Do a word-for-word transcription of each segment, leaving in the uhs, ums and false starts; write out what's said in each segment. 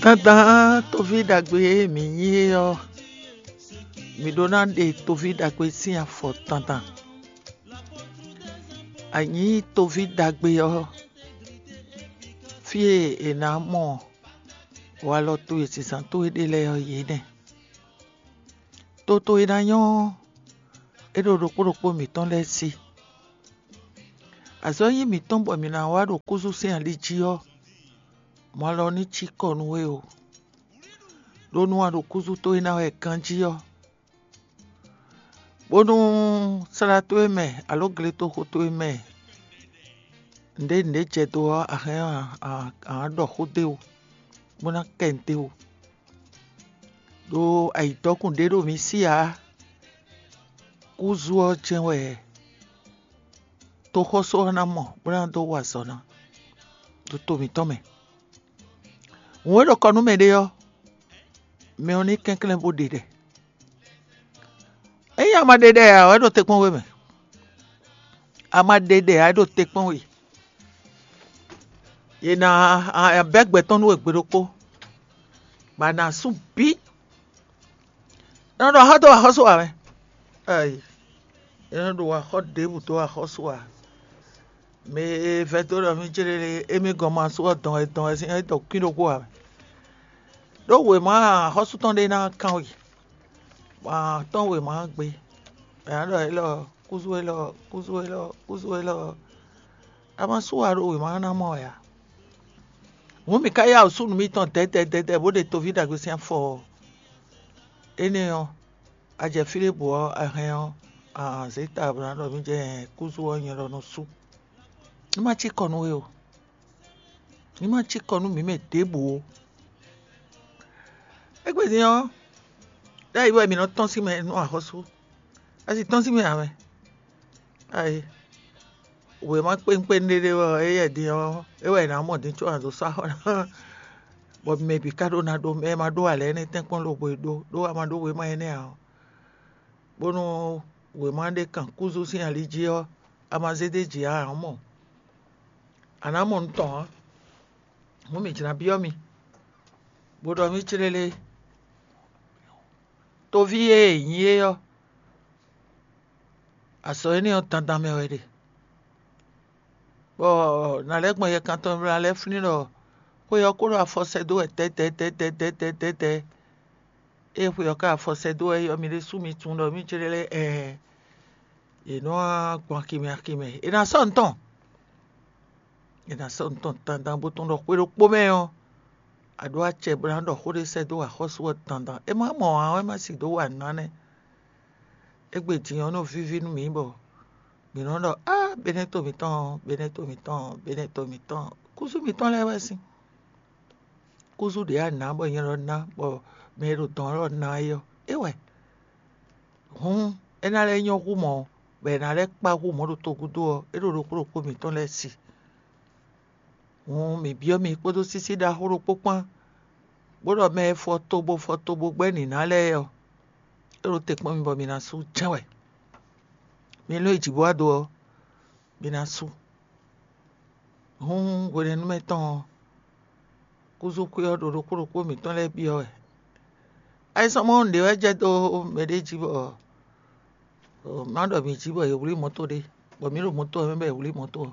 Dandan toví ɖagbe e mǐ nyí é ɔ́, mǐ ɖó ná ɖe toví ɖagbe sín afɔ dandan. A nyǐ toví ɖagbe ɔ́, fí e è nǎ mɔ walɔ towe zǐnzán towe ɖe lɛ́ɛ ɔ́, yě nɛ́. Toto e ná nyɔ́ ɔ́, é ɖo ɖokpó ɖokpó mǐtɔn lɛ́ɛ sí. Azɔ̌ nyí mǐtɔn bɔ mǐ ná wá ɖo kúzú sín ali jí ɔ́, mɔ alɔ ní cí kɔ nú we o. Ɖó nú a ɖo kúzú towe ná wɛ ganjí ɔ́, bónú slá towe mɛ alǒ gletoxo towe mɛ nǔɖé nǔɖé jɛ dó ɔ́, a hɛn ɔ́, a nǎ ɖɔ xó d'é wú, bó ná kɛ nǔ d'é wú. Ɖó ayǐtɔ́kùn ɖé ɖo mǐ sí ǎ. Kúzú ɔ́ jɛ́n wɛ toxɔ́sú ɔ́ ná mɔ bó ná dó wa azɔ̌ ná ɖo to mǐtɔn mɛ. Hǔn e ɖo kɔ nú mɛɖé ɔ́, mɛ ɔ́ ní kɛnklɛ́n bó ɖe ɖɛ. Ényí a ma ɖe ɖɛ ǎ, é ɖo te kpɔ́n we mɛ. A ma ɖe ɖɛ ǎ, é ɖo te kpɔ́n we. Yě ná bɛ́ gbɛ tɔn nú we gbe ɖokpó, bɔ a nǎ sú bǐ. Nɔ ɖo axɔ́ dó axɔ́sú ǎ mɛ. Ayi, é nɔ ɖo axɔ́ ɖěbǔ dó axɔ́sú ǎ. Mɛ e vɛ́ dó ɖɔ mí jlé émí gɔn ma sú ɔ́ dɔn wɛ dɔn wɛ sín é dɔ kwín ɖokpó ǎ mɛ. Ɖó wěma axɔ́sú tɔn ɖé ná kán we, bɔ a tɔ́n wěma gbe, bɔ è nǎ ɖɔ élɔ́ kúzú élɔ́ kúzú élɔ́ kúzú élɔ́. A ma sú wa ɖo wěma ná mɔ wɛ ǎ. Hǔn mǐ ka yá wǔ sú nǔ mitɔn dɛ̌dɛ̌ dɛ̌dɛ̌ bó ɖe toví ɖagbe sín afɔ ɔ́. Énɛ́ ɔ́, a jɛ fí ɖěbǔ ɔ́, a hɛn ɔ́, a zě ta bó ná ɖɔ mí jɛ kúzú ɔ́ nyɛ lɔ nɔ sú. Ní má cí kɔ nú we o. Ní má cí kɔ nú mǐ mɛ ɖěbǔ ó. Égbé din ɔ́, ɖ'ayǐ wɛ mǐ nɔ tɔ́n sín mɛ nú axɔ́sú. A sì tɔ́n sín mɛ ǎ mɛ. Ayi, wěma kpénkpén ɖé ɖé wɛ ɔ́, éyɛ́ din ɔ́, é wɛ è nǎ mɔ din có a nǎ dó sɔ́ axɔ́ ná. Bɔ mɛ bǐ ka ɖó ná ɖó, mɛ e ma ɖó ǎ lɛ́ɛ nɛ́ tɛ́nkpɔ́n lobo e ɖó, ɖó a ma ɖó wěma énɛ́ ǎ ɔ́, bónú wěma ɖé kan kúzú sín ali jí ɔ́, a ma zé d'é jǐ ǎ, a nǎ mɔ. A nǎ mɔ nǔ tɔn ǎ. Hǔn mǐ jlǎ byɔ́ mi, bó ɖɔ mì clélé. Toví e è nyí é ɔ́, azɔ̌ énɛ́ ɔ́ dandan mɛ wɛ ɖe. Bɔ nǎ lɛ́ gbɔn yɛkantɔ́ mlá lɛ́ɛ flín ɖɔ xwé ɔ́ kó ɖo afɔ sɛ́ dó wɛ tɛ́tɛ́tɛ́tɛ́tɛ́tɛ́. Ée xwé ɔ́ ka afɔ sɛ́ dó wɛ é ɔ́, mi ɖésú mi tunwun ɖɔ mì jlɛ́ lɛ́ɛ ɛɛ, yě nɔ wá gbɔn aximɛ aximɛ. È nǎ sɔ́ nǔ tɔn. È nǎ sɔ́ nǔ tɔn dandan bó tunwun ɖɔ xwé ɖokpó mɛ ɔ́, a ɖó acɛ bó ná ɖɔ xó ɖé sɛ́ dó axɔ́sú ɔ́ dandan. É má mɔ ǎ wɛ má sì dó wa nǔ ná nɛ́. Égbé din ɔ́ nɔ víví nú mǐ bɔ mǐ nɔ ɖɔ á Benɛ́to mǐtɔn, Benɛ́to mǐtɔn, Benɛ́to mǐtɔn, kúzú mǐtɔn lɛ́ɛ wɛ sín. Kúzú ɖě a nǎ bɔ nyɛ lɔ ná bɔ mɛ e ɖo dɔ̌n lɔ ná é ɔ́, é wɛ. Hǔn é ná lɛ́ nyɔ́ hú mɔ̌, bɔ è nǎ lɛ́ kpá hú mɔ̌ ɖo togúdo ɔ́, é ɖo ɖokpó ɖokpó mǐtɔn lɛ́ɛ si. Hǔn mǐ byɔ́ mi kpódó sísí ɖaxó ɖokpó kpán, bó ɖɔ mɛ e fɔ tobo fɔ tobo gbɛ́ nǐná lɛ́ɛ ɔ́, é ɖo te kpɔ́n mi bɔ mi ná sú jɛ́n wɛ. Mi lɔ́n yi jǐ bó wá do ɔ́, mi ná sú. Hǔn hwenɛ́nu mɛ tɔn ɔ́, kúzú xwé ɔ́ ɖo ɖokpó ɖokpó mǐtɔn lɛ́ɛ byɔ́ wɛ. Ayisɔ́mɔnu ɖě wɛ jɛ dó mɛɖé jí bɔ má ɖɔ mǐ jí bɔ è wlí mɔ̌to ɖé, bɔ mǐ ɖo mɔ̌to ɔ́ mɛ bɔ è wlí mɔ̌to ɔ́.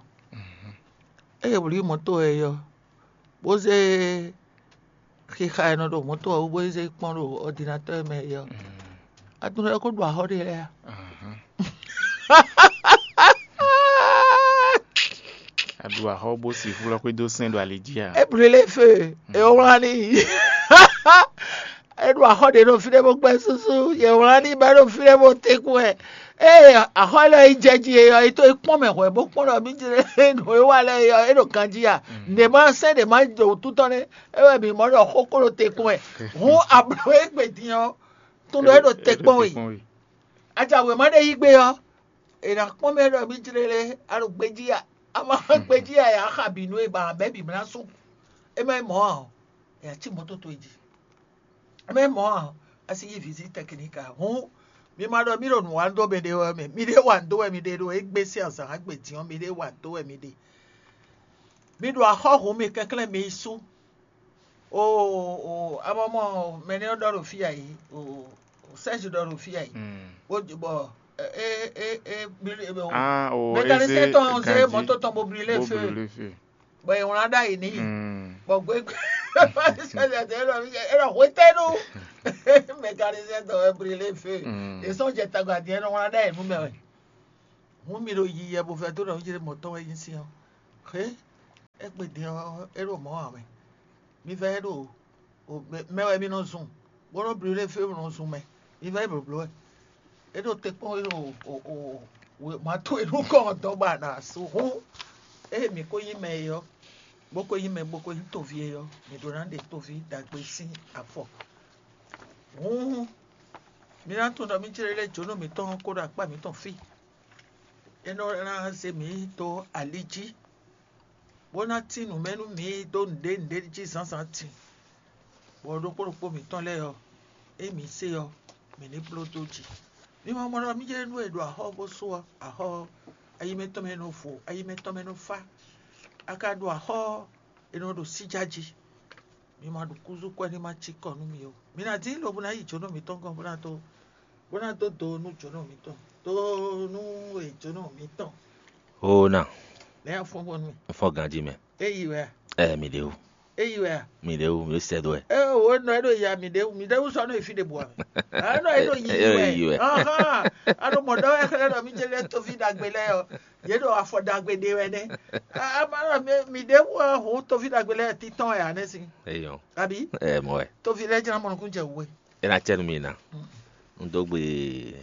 Ée è wlí mɔ̌to ɔ́ ɔ́, bó zé xixa e nɔ ɖo mɔ̌to ɔ́ wú bó yi zé kpɔ́n ɖo ɔdinatɔ́ e mɛ é ɔ́, a tunwun ɖɔ é ko ɖu axɔ́ ɖé lɛ́ɛ a? A ɖu axɔ́ bó si flɔ́ xwé dó sɛn ɖo ali jí a? É bló lé fé, é wlán n'i. É ɖo axɔ́ ɖě ɖo fínɛ́ bó gbɛ́ súsú, yě wlán n'i bɔ é ɖo fínɛ́ bó tɛ́nkún wɛ. Ée axɔ́ élɔ́ yi jɛ jí é ɔ́, é tó yi kpɔ́n mɛ hwɛ̌ bó kpɔ́n ɖɔ mí jlé nǔ e wa lɛ́ɛ é ɔ́, é ɖo ganjí a? Nɛ̌ ma sɛ́n ɖě ma jɛ wǔtu tɔn nɛ́? É wɛ mǐ mɔ ɖɔ xó kó ɖo te kpɔ́n wɛ. Hǔn a blǒ égbé din ɔ́, tunwun ɖɔ é ɖo te kpɔ́n we. A ja wěma ɖé yí gbé ɔ́, è nǎ kpɔ́n mɛ ɖɔ mí jlé lé, a ɖo gbejí a? A ma gbejí a, yě á xa bǐ nú e ba bɛ́ bǐ mlá sú. É má nyí mɔ̌ ǎ ɔ́, è nǎ cí mɔ̌ toto e jí. É má nyí mɔ̌ ǎ ɔ́, a sì yí vǐzí tɛkinika. Hǔn mi ma ɖɔ mí ɖo nǔ wa dó mɛ ɖé wɛ mɛ. Mi ɖé wa dó wɛ mi ɖe ɖo égbé sín azǎn gbe din ɔ́, mi ɖé wa dó wɛ mi ɖe. Mi ɖo axɔ́ hun mi kɛnklɛ́n mi yi sú. O o amɔmɔ mɛ nɛ́ ɔ́ ɖɔ ɖo fí a yi, o Sɛ́zi ɖɔ ɖo fí a yi. Bó bɔ é é é Ah, o mécanicien eze tɔn zé ganji mɔto tɔn bó brilé bó feu. Brilé feu. Bɔ è wlán ɖ'ayǐ n'i. Bɔ gbégbé é ɖɔ hwetɛ́nu mécanicien tɔn wɛ brilé feu. È sɔ́ jɛ tagbadin é nɔ wlán ɖ'ayǐ nú mɛ wɛ. Hǔn mi ɖo yiyi wɛ bó vɛdó ɖɔ nǔ ce mɔ̌ tɔn wɛ nyí sin ɔ́. Xé égbé din ɔ́, é ɖo mɔ̌ ǎ mɛ. Mi vɛ́ é ɖo mɛ wɛ mi nɔ zun, bó nɔ́ bló ɖé fí mi nɔ zun mɛ. Mi vɛ́ é blǒbló wɛ. É ɖo te kpɔ́n é ɖo wěma towe nukɔn ɔ́ dɔn bɔ a nǎ sú. Hǔn ée mǐ ko nyí mɛ é ɔ́, bó ko nyí mɛ bó ko nyí toví é ɔ́, mǐ ɖó ná ɖe toví ɖagbe sín afɔ. Hǔn mi ná tunwun ɖɔ mí jlé lɛ́ jǒnɔ mǐtɔn kó ɖo akpá mǐtɔn fí. É nɔ ná zé mǐ dó ali jí, bó ná tín nǔ mɛ nú mǐ dó nǔɖé nǔɖé jí zǎnzǎn din, bɔ ɖokpó ɖokpó mǐtɔn lɛ́ɛ ɔ́, ée mǐ se ɔ́, mǐ ní bló dó jí. Mi ma mɔ ɖɔ mí jɛ nú e ɖo axɔ́ bó sú ɔ́, axɔ́ ayi mɛ tɔn mɛ nɔ vo, ayi mɛ tɔn mɛ nɔ fá. A ka ɖo axɔ́ ɔ́, è nɔ ɖo síjá jí. Mi ma ɖo kúzú kwɛ́ ní ma cí kɔ nú mi ó. Mi ná dín lobo ná yi jǒnɔ mǐtɔn gɔ́n bó ná dó bó ná dó do nú jǒnɔ mǐtɔn, do nú e jǒnɔ mǐtɔn. Oo na, Lɛ́ afɔ́n bɔ nú mì. N fɔ ganjí mɛ. É yi wɛ a? Ɛ mi ɖe wú. É yi wɛ a? Mi ɖe wú, mi ɖo sɛ dó wɛ. É wo nɔ é ɖo ya mi ɖe wú, mi ɖe wú sɔ nɔ yi fí ɖe bua mɛ. A nɔ é ɖo yi Ɛ, wɛ. Yi wɛ. Ahán, a ɖo mɔ ɖɔ wɛ xlɛ́ ɖɔ mi jɛ lɛ toví ɖagbe lɛ ɔ, yě ɖo afɔ ɖagbe ɖe wɛ nɛ. A ma ɖɔ mi ɖe wú ɔ, hǔn toví ɖagbe lɛ títɔn wɛ a nɛ si. Eyɔn. Abi? Ɛ mɔ wɛ. Toví lɛ jɛn mɔ nukún jɛ wú wɛ. É ná cɛ nú mi ná. Un dó gbe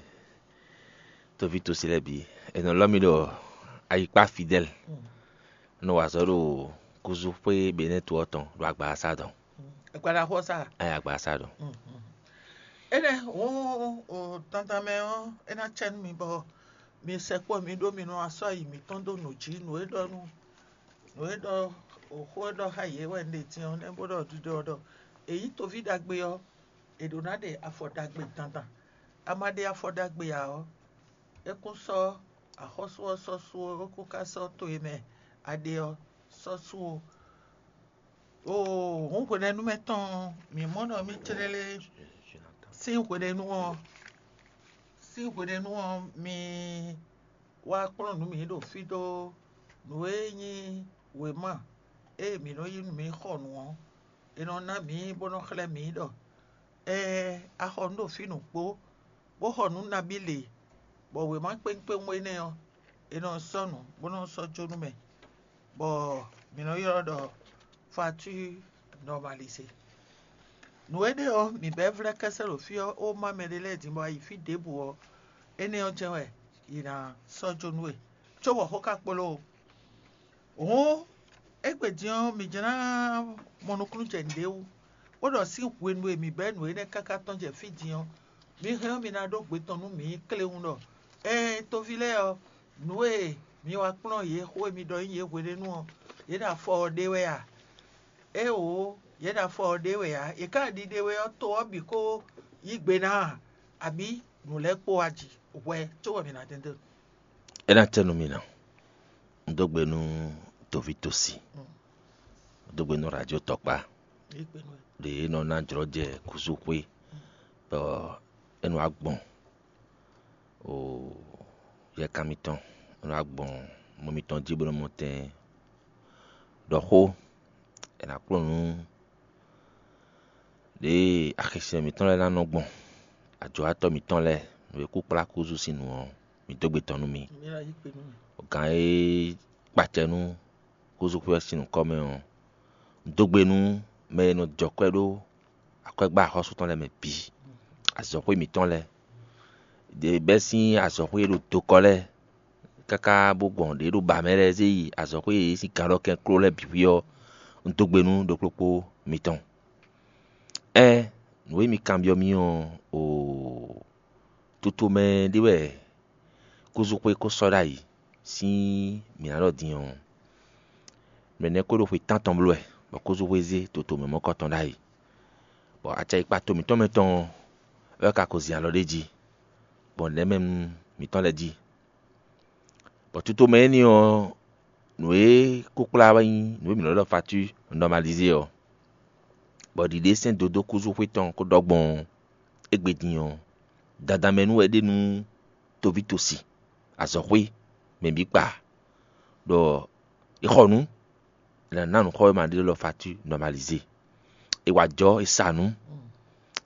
toví tosi lɛ́ɛ bǐ. È nɔ lɔ́ mì ɖɔ ayikpá Fidɛ́l. Un nɔ wa azɔ̌ ɖo kúzú xwé Benɛ́tu ɔ́ tɔn ɖo agbaasa dɔn. Agbada xɔ sa. Ayé agbaasa dɔn. Énɛ́ hǔn o tantan mɛ ɔ́, é ná cɛ nú mi bɔ mi sɛkpɔ́ mi ɖó mi nɔ asɔ́ ayi mǐtɔn dó nǔ jí, nǔ e ɖɔ nú nǔ e ɖɔ xó e ɖɔ xá yě wɛ un ɖe din ɔ́, nɛ́ bó ɖɔ ɖiɖɔ ɔ́ ɖɔ è nyǐ toví ɖagbe ɔ́, è ɖǒ ná ɖe afɔ ɖagbe dandan. A ma ɖe afɔ ɖagbe ǎ ɔ́, é kún sɔ́ axɔ́sú ɔ́ sɔ́ sú ó, é kún ka sɔ́ to e mɛ a ɖe ɔ́ sɔ́ sú ó. Oo, hǔn hwenɛ́nu mɛ tɔn ɔ́, mǐ mɔ ɖɔ mì clélé sín hwenɛ́nu ɔ́, sín hwenɛ́nu ɔ́, mi wá kplɔ́n nǔ mǐ ɖo fí dó nǔ e nyí wěma e mǐ nɔ yí nú mǐ xɔ nǔ ɔ́, è nɔ ná mǐ bó nɔ́ xlɛ́ mǐ ɖɔ ɛɛ a xɔ nǔ ɖo fí nǔgbó, bó xɔ nǔ nabí lě, bɔ wěma kpéwún kpéwún énɛ́ ɔ́, è nɔ sɔ́ nǔ bó nɔ́ sɔ́ jó nú mɛ, bɔ mǐ nɔ ylɔ́ ɖɔ facture normalisée. Nǔ énɛ́ ɔ́, mǐ bɛ́ vlɛ́ kɛ́sɛ́ ɖo fí ɔ́, ó má mɛɖé lɛ́ɛ din bɔ a yi fí ɖěbǔ ɔ́, énɛ́ ɔ́ jɛ́n wɛ yě ná sɔ́ jó nú we, cóbɔ xó ka kpló o. Hǔn, égbé din ɔ́, mǐ jlá mɔ nukúnnú jɛ nǔɖé wú, bó ɖɔ sín hwenu e mǐ bɛ́ nǔ énɛ́ káká tɔn jɛ fí din ɔ́, mi hɛn ɔ́, mi ná ɖó gbe tɔn nú mǐ kléwún ɖɔ: Ɛɛn, toví lɛ́ɛ ɔ́, nǔ e mi wá kplɔ́n yě xó e mi ɖɔ nyí yě hwenɛ́nu ɔ́, yě ɖo afɔ ɔ́ ɖe wɛ a? Éeǒ, yě ɖo afɔ ɔ́ ɖe wɛ ǎ; yě ká ɖiɖe wɛ ɔ́, to ɔ́ bǐ ko yí gbe ná a, abǐ nǔ lɛ́ɛ kpó wá ji hwɛ cóbɔ mǐ ná dɛn dó? É ná cɛ nú mi ná. Un dó gbe nú toví tosi, un dó gbe nú radio tɔkpá, ɖě é nɔ ná jlɔ́ jɛ kúsúxwé, bɔ é nɔ wá gbɔn o yɛkan mitɔn, é nɔ wá gbɔn mɔ mitɔn jí bó nɔ mɔ tɛn ɖɔ xó. È nǎ kplɔ́n nǔ ɖěe axisɛn mǐtɔn lɛ́ɛ ná nɔ gbɔn, ajɔ̌watɔ́ mǐtɔn lɛ́ɛ, nǔ e kú kplá kúzu sín nǔ ɔ́, mǐ dó gbe tɔn nú mi. Gǎn e kpacɛ nú kúzúxwé ɔ́ sín nǔkɔ́ mɛ ɔ́, dó gbe nú mɛ e nɔ jɔ kwɛ́ ɖó akwɛ́gbá axɔ́sú tɔn lɛ́ɛ mɛ bǐ, azɔ̌xwé mǐtɔn lɛ́ɛ, ɖě bɛ́ sín azɔ̌xwé e ɖo dokɔ lɛ́ɛ káká bó gbɔn ɖě ɖo ba mɛ lɛ́ɛ zé yi azɔ̌xwé e yě sín ganɖɔkɛn kló lɛ́ɛ bǐ ɔ́, un dó gbe nú ɖokpókpó mitɔn. Ɛ́, nǔ e mi kanbyɔ́ mì ɔ́, oo, toto mɛ ɖé wɛ kúzúxwé ko sɔ́ ɖ'ayǐ sín mǐ ná ɖɔ din ɔ́, mɛ nɛ́ ko ɖo xwe tántɔn bló wɛ, bɔ kúzúxwé zé toto mɛ mɔ̌kɔtɔn ɖ'ayǐ, bɔ acɛyikpa to mǐtɔn mɛ tɔn ɔ́ wɛ ka ko zin alɔ ɖ'é jí, gbɔn nɛ̌ mɛ nú mǐtɔn lɛ́ɛ jí. Bɔ toto mɛ énɛ́ ɔ́, Nǔ e kó kplá wɛ nyí nǔ e mǐ nɔ ɖɔ facture normalisée ɔ́, bɔ ɖiɖe sɛ́n dó dó kúzúxwé tɔn kó ɖɔ gbɔn ɔ́, égbé din ɔ́, dandan mɛ nú wɛ é ɖe nú toví tosi, azɔ̌xwé, mɛ bǐ kpa, ɖɔ è xɔ nǔ, è nǎ ná nǔxɔ́wéma ɖé lɔ facture normalisée. È wa jɔ̌, è sa nǔ,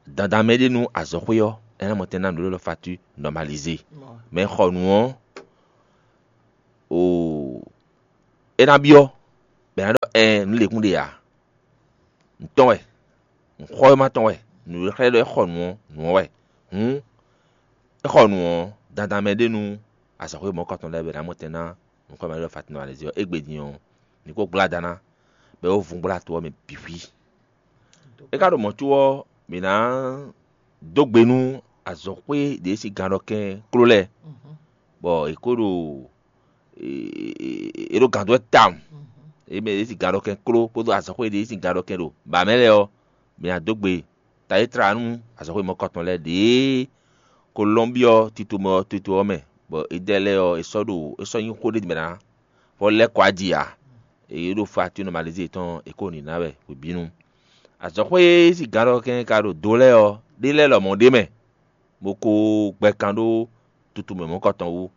dandan mɛ é ɖe nú azɔ̌xwé ɔ́, é ná mɔ tɛn ná nǔ ɖé lɔ facture normalisée. Mɛ e xɔ nǔ ɔ́, o é ná byɔ́, bɔ è nǎ ɖɔ ɛɛn, nǔ lěkún ɖe ǎ. Nǔ tɔn wɛ, nǔxɔ́wéma tɔn wɛ, nǔ e xlɛ́ ɖɔ é xɔ nǔ ɔ́, nǔ ɔ́ wɛ. Hǔn é xɔ nǔ ɔ́, dandan mɛ ɖé nú azɔ̌xwé mɔ̌kɔtɔn lɛ́ɛ bɔ è nǎ mɔ tɛn ná nǔxɔ́wéma ɖé lɔ facture normalisée ɔ́, égbé din ɔ́, mǐ kó gbla da ná, bɔ é wó vun gbla to ɔ́ mɛ bǐ xwí. É ka ɖo mɔ̌ có ɔ́, mǐ ná dó gbe nú azɔ̌xwé ɖě sín ganɖɔkɛ́n kló lɛ́ɛ, bɔ è kó ɖo è ɖo gǎn dó wɛ tawun. È mɛ ɖě sín ganɖɔkɛ́n kló kpódó azɔ̌xwé ɖě sín ganɖɔkɛ́n ɖo bǎ mɛ lɛ́ɛ ɔ́, mǐ ná dó gbe tayítlá nú azɔ̌xwé mɔ̌kɔtɔn lɛ́ɛ ɖě Kolɔ́nbyɔ́ tito mɛ ɔ́ tito ɔ́ mɛ, bɔ Edɛ́ lɛ́ɛ ɔ́, è sɔ́ ɖo é sɔ́ nyí xó ɖé mɛ ná, bɔ lɛ́ kɔ aji ǎ. È ɖo facture normalisée tɔn è ko nǐ ná wɛ hwebǐnu. Azɔ̌xwé e sín gǎnɖɔkɛ́n ka ɖo do lɛ́ɛ ɔ́, ɖé lɛ́ɛ lɔmɔ̌ ɖ'é mɛ, bó ko gbɛ kan ɖó tutu mɛ mɔ̌kɔtɔn wú.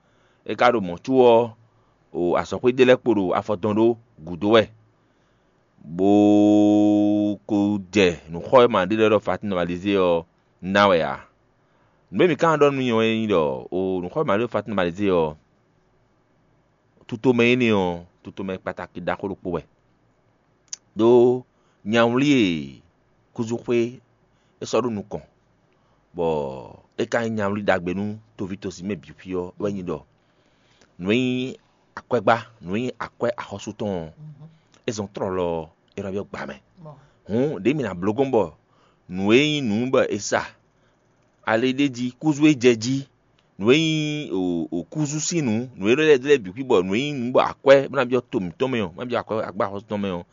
É ka ɖo mɔ̌ có ɔ́, o azɔ̌xwé ɖé lɛ́ɛ kpo ɖo afɔ dɔn ɖó gǔdo wɛ, bó ko jɛ nǔxɔ́wéma ɖé lɛ́ɛ ɖɔ facture normalisée ɔ́ ná wɛ ǎ. Nǔ e mǐ ka ɖɔ nú mi ɔ́ é nyí ɖɔ o nǔxɔ́wéma ɖé ɖɔ facture normalisée ɔ́, tutomɛ énɛ́ ɔ́, tutomɛ kpatáki ɖaxó ɖokpó wɛ. Đó nyawlí e kúzúxwé é sɔ́ ɖó nukɔn, bɔ é ka nyí nyawlí ɖagbe nú toví tosi mɛ bǐ xwí ɔ́ wɛ nyí ɖɔ nǔ e nyí akwɛ́gbá, nǔ e nyí akwɛ́ axɔ́sú tɔn ɔ́, é zɔn tlɔlɔ ɔ́, é nɔ byɔ́ gbǎ mɛ. Hǔn ɖěe mǐ ná bló gbɔn bɔ nǔ e nyí nǔ bɔ è sa ali ɖé jí, kúzú e jɛ jí, nǔ e nyí kúzú sín nǔ, nǔ e lɛ́ lɛ́ bǐ xwí bɔ nǔ e nyí nǔ bɔ akwɛ́ bó ná byɔ́ to mǐtɔn mɛ ɔ́, bó ná byɔ́ akwɛ́ agbáxɔ́sú tɔn mɛ ɔ́,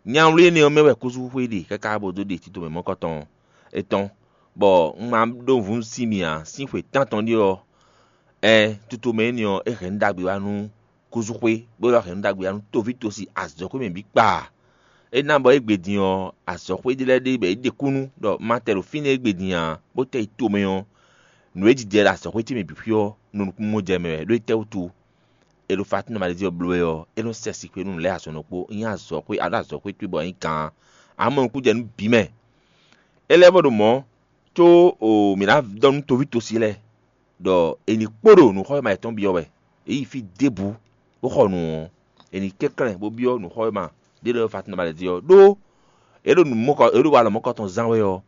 nyawlí énɛ́ ɔ́ mɛ wɛ kúzú xwé ɖe káká bó dó ɖe tito mɛ mɔ̌kɔtɔn ɔ́. Etɔ́, bɔ un ma ɖó nǔvú nú sin mì ǎ, sín xwe tántɔn ɖé ɔ́, ɛ́n, tutomɛ énɛ́ ɔ́, é hɛn nǔ ɖagbe wá nú kúzúxwé, bó lɔ́ hɛn nǔ ɖagbe wá nú toví tosi azɔ̌xwé mɛ bǐ kpaa. É ná bɔ égbé din ɔ́, azɔ̌xwé ɖé lɛ́ɛ ɖe bɔ é ɖe kúnnu ɖɔ ma tɛ ɖo fínɛ́ égbé din ǎ, bó tɛ yi tomɛ ɔ́, nǔ e jijɛ ɖo azɔ̌xwé ce mɛ bǐ xwí ɔ́, nɔ nukúnmɔjɛmɛ wɛ, ɖó étɛ́wútu? È ɖo facture normalisée ɔ́ bló wɛ ɔ́, é nɔ́ sɛ sikwé nú nǔ lɛ́ɛ azɔ̌ nɔ́ kpó, nyí azɔ̌xwé, aɖó azɔ̌xwé towe bɔ é nyí gǎn. Amɔ́ nukúnjɛ nú bǐ mɛ. É lɛ́ vɔ ɖo mɔ̌, có o mǐ ná ɖɔ nú toví tosi lɛ́ɛ ɖɔ è ní kpo ɖo nǔxɔ́wéma yětɔn byɔ́ wɛ. È yi fí ɖěbǔ bó xɔ nǔ ɔ́, è ní kɛnklɛ́n bó byɔ́ nǔxɔ́wéma ɖé lɛ́ɛ facture normalisée ɔ́, ɖó é ɖo nǔ mɔkɔ é ɖo walɔ mɔkɔtɔn zán wɛ ɔ́,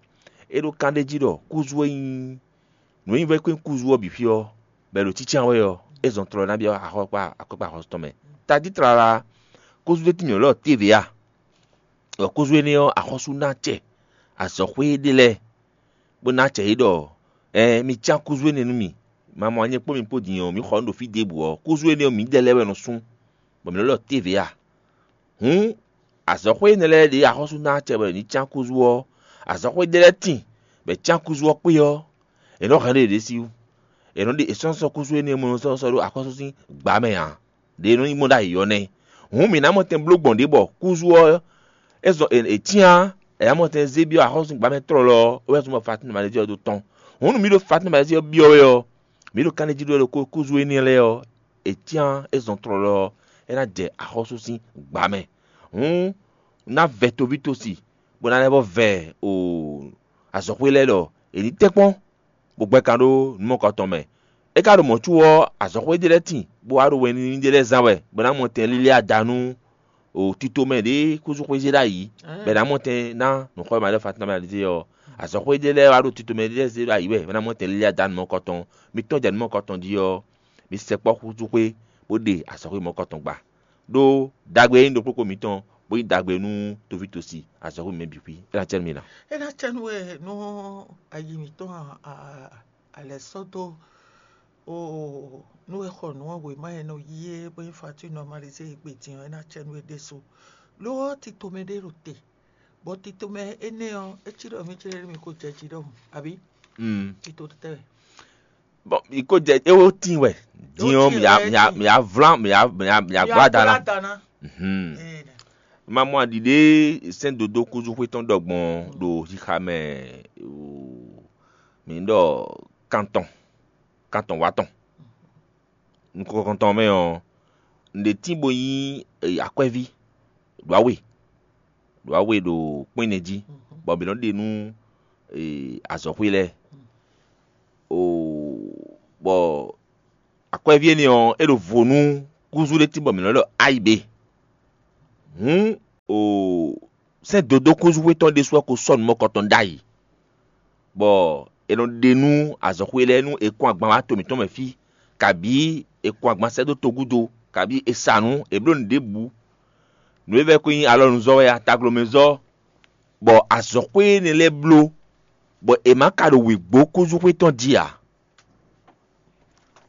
é ɖo kán ɖ'é jí ɖɔ kúzú e nyí nǔ e nyí vɛ́ kpé kúzú ɔ́ bǐ fí ɔ́, bɔ è ɖo cícán wɛ ɔ́, é zɔn tlɔ ná byɔ́ axɔ́kpa akɔ́kpa axɔ́sú tɔn mɛ. Tají tlala, kúzú ɖé tín mǐ lɔ tévě a? Bɔ kúzú énɛ́ ɔ́, axɔ́sú ná acɛ azɔ̌xwé ɖé lɛ́ɛ, bó ná acɛ yě ɖɔ: ‘Ɛɛn, mi cán kúzú énɛ́ nú mì; ma mɔ anyɛ kpó mi kpó din ɔ́, mǐ xɔ nǔ ɖo fí ɖěbǔ ɔ́, kúzú énɛ́ ɔ́, mǐdɛɛ lɛ́ɛ wɛ nɔ sú, bɔ mǐ nɔ lɔ tévě a?’ Hǔn, azɔ̌xwé énɛ́ lɛ́ɛ ɖě axɔ́sú ná acɛ bɔ yě ní cán kúzú ɔ́, azɔ̌xwé ɖé lɛ́ɛ tíin, bɔ è cán kúzú ɔ́ kpé ɔ́, è nɔ́ hɛn ɖó yěɖée sí wú. È nɔ ɖe è sɔ́ sɔ́ kúzú énɛ́ mɔ sɔ́ sɔ́ ɖó axɔ́sú sín gbǎ mɛ ǎ. Ɖě e nɔ nyí gbɔn ɖ'ayǐ ɔ́ nɛ́. Hǔn mǐ ná mɔ tɛn bló gbɔn ɖě bɔ kúzú ɔ́ é zɔn è cyán ǎ, è nǎ mɔ tɛn zé byɔ́ axɔ́súgbǎmɛ tlɔlɔ ɔ́, é wɛ zɔ́n bɔ Fatín Malɛzíɔ ɖó tɔn. Hǔn nú mǐ ɖo Fatín Malɛzíɔ byɔ́ wɛ ɔ́, mǐ ɖo kanɖéjí ɖó wɛ ɖokpó kúzú énɛ́ lɛ́ɛ ɔ́, è cyán é zɔn tlɔlɔ ɔ́, é ná jɛ axɔ́sú sín gbǎ mɛ. Hǔn ná vɛ toví tosi, bó ná lɛ́ vɔ vɛ o azɔ̌xwé lɛ́ɛ ɖɔ è ní tɛ́nkpɔ́n, bó gbɛ́ kan ɖó nǔ mɔ̌kɔ tɔn mɛ. É ka ɖo mɔ̌ có ɔ́, azɔ̌xwé ɖé lɛ́ɛ tíin, bó wá ɖo wɛn nú ɖé lɛ́ɛ zán wɛ, bɔ é ná mɔ tɛn lílí ada nú o tito mɛ ɖě kúzú xwé zé ɖ'ayǐ, bɔ è nǎ mɔ tɛn ná nǔxɔ e ma ɖɔ Fatín Malɛzíɔ ɔ́. Azɔ̌xwé ɖé lɛ́ɛ wá ɖo tito mɛ ɖé lɛ́ɛ zé ɖ'ayǐ wɛ, bɔ é ná mɔ tɛn lílí ada nú mɔ̌kɔ tɔn. Mi tɔ́n jɛ nǔ mɔ̌kɔ tɔn jí ɔ́, mi sɛkpɔ́ xúzú xwé, bó ɖe azɔ̌xwé mɔ̌kɔ tɔn gba. Ɖó ɖagbe e nyí ɖokpókpó mǐtɔn, bó nyí ɖagbe nú toví tosi azɔ̌xwé mǐmɛ́ bǐ xwí. É ná cɛ nú mi ná. É ná cɛ nú we nú ayi mǐtɔn a- a- alɛ sɔ́ dó o nú e xɔ nǔ ɔ́ wěma e nɔ yí é bó nyí Fatín Malɛzíɔ e gbe din ɔ́, é ná cɛ nú we ɖésú. Lo ɔ́, tito mɛ ɖé ɖo te, bɔ tito mɛ énɛ́ ɔ́, é cí ɖɔ mí cí ɖɔ mi ko jɛ jí ɖɔhun, abǐ? Mm. Tito tɛ́ wɛ? Bɔn mi ko jɛ é wó tín wɛ. Din ɔ́, mi ya mi ya mi ya vlán mi ya mi ya mi ya gbɔ ada ná. Mhm. Ma mɔ aɖiɖe sɛ́n dodó kúzúxwé tɔn ɖɔ gbɔn ɖo xixa mɛ, mǐ ɖɔ kantɔn kantɔn wá tɔn. Nukɔntɔn mɛ ɔ́, nǔɖé tín bó nyí akwɛ́ví ɖo awe ɖo awe ɖo kpɛ́n jí, bɔ mǐ nɔ ɖe nú azɔ̌xwé lɛ́ɛ. Oo, bɔ akwɛ́ví énɛ́ ɔ́, é ɖo vo nú kúzú ɖé tín bɔ mǐ nɔ ɖɔ ayǐ ɖe. Hǔn, oo, sɛ́n dodó kúzúxwé tɔn ɖésú ɔ́ ko sɔ́ nǔ mɔ̌kɔtɔn ɖ'ayǐ, bɔ è nɔ ɖe nú azɔ̌xwé lɛ́ɛ nú è kɔn agban wá to mǐtɔn mɛ fí, kabǐ è kɔn agban sɛ́ dó togúdo, kabǐ è sa nǔ, è bló nǔ ɖěbǔ. Nǔ e vɛ́ ko nyí alɔnuzɔ́ wɛ a, taglomɛzɔ́, bɔ azɔ̌xwé énɛ́ lɛ́ɛ bló, bɔ è ma ka ɖo wěgbó kúzúxwé tɔn jí ǎ.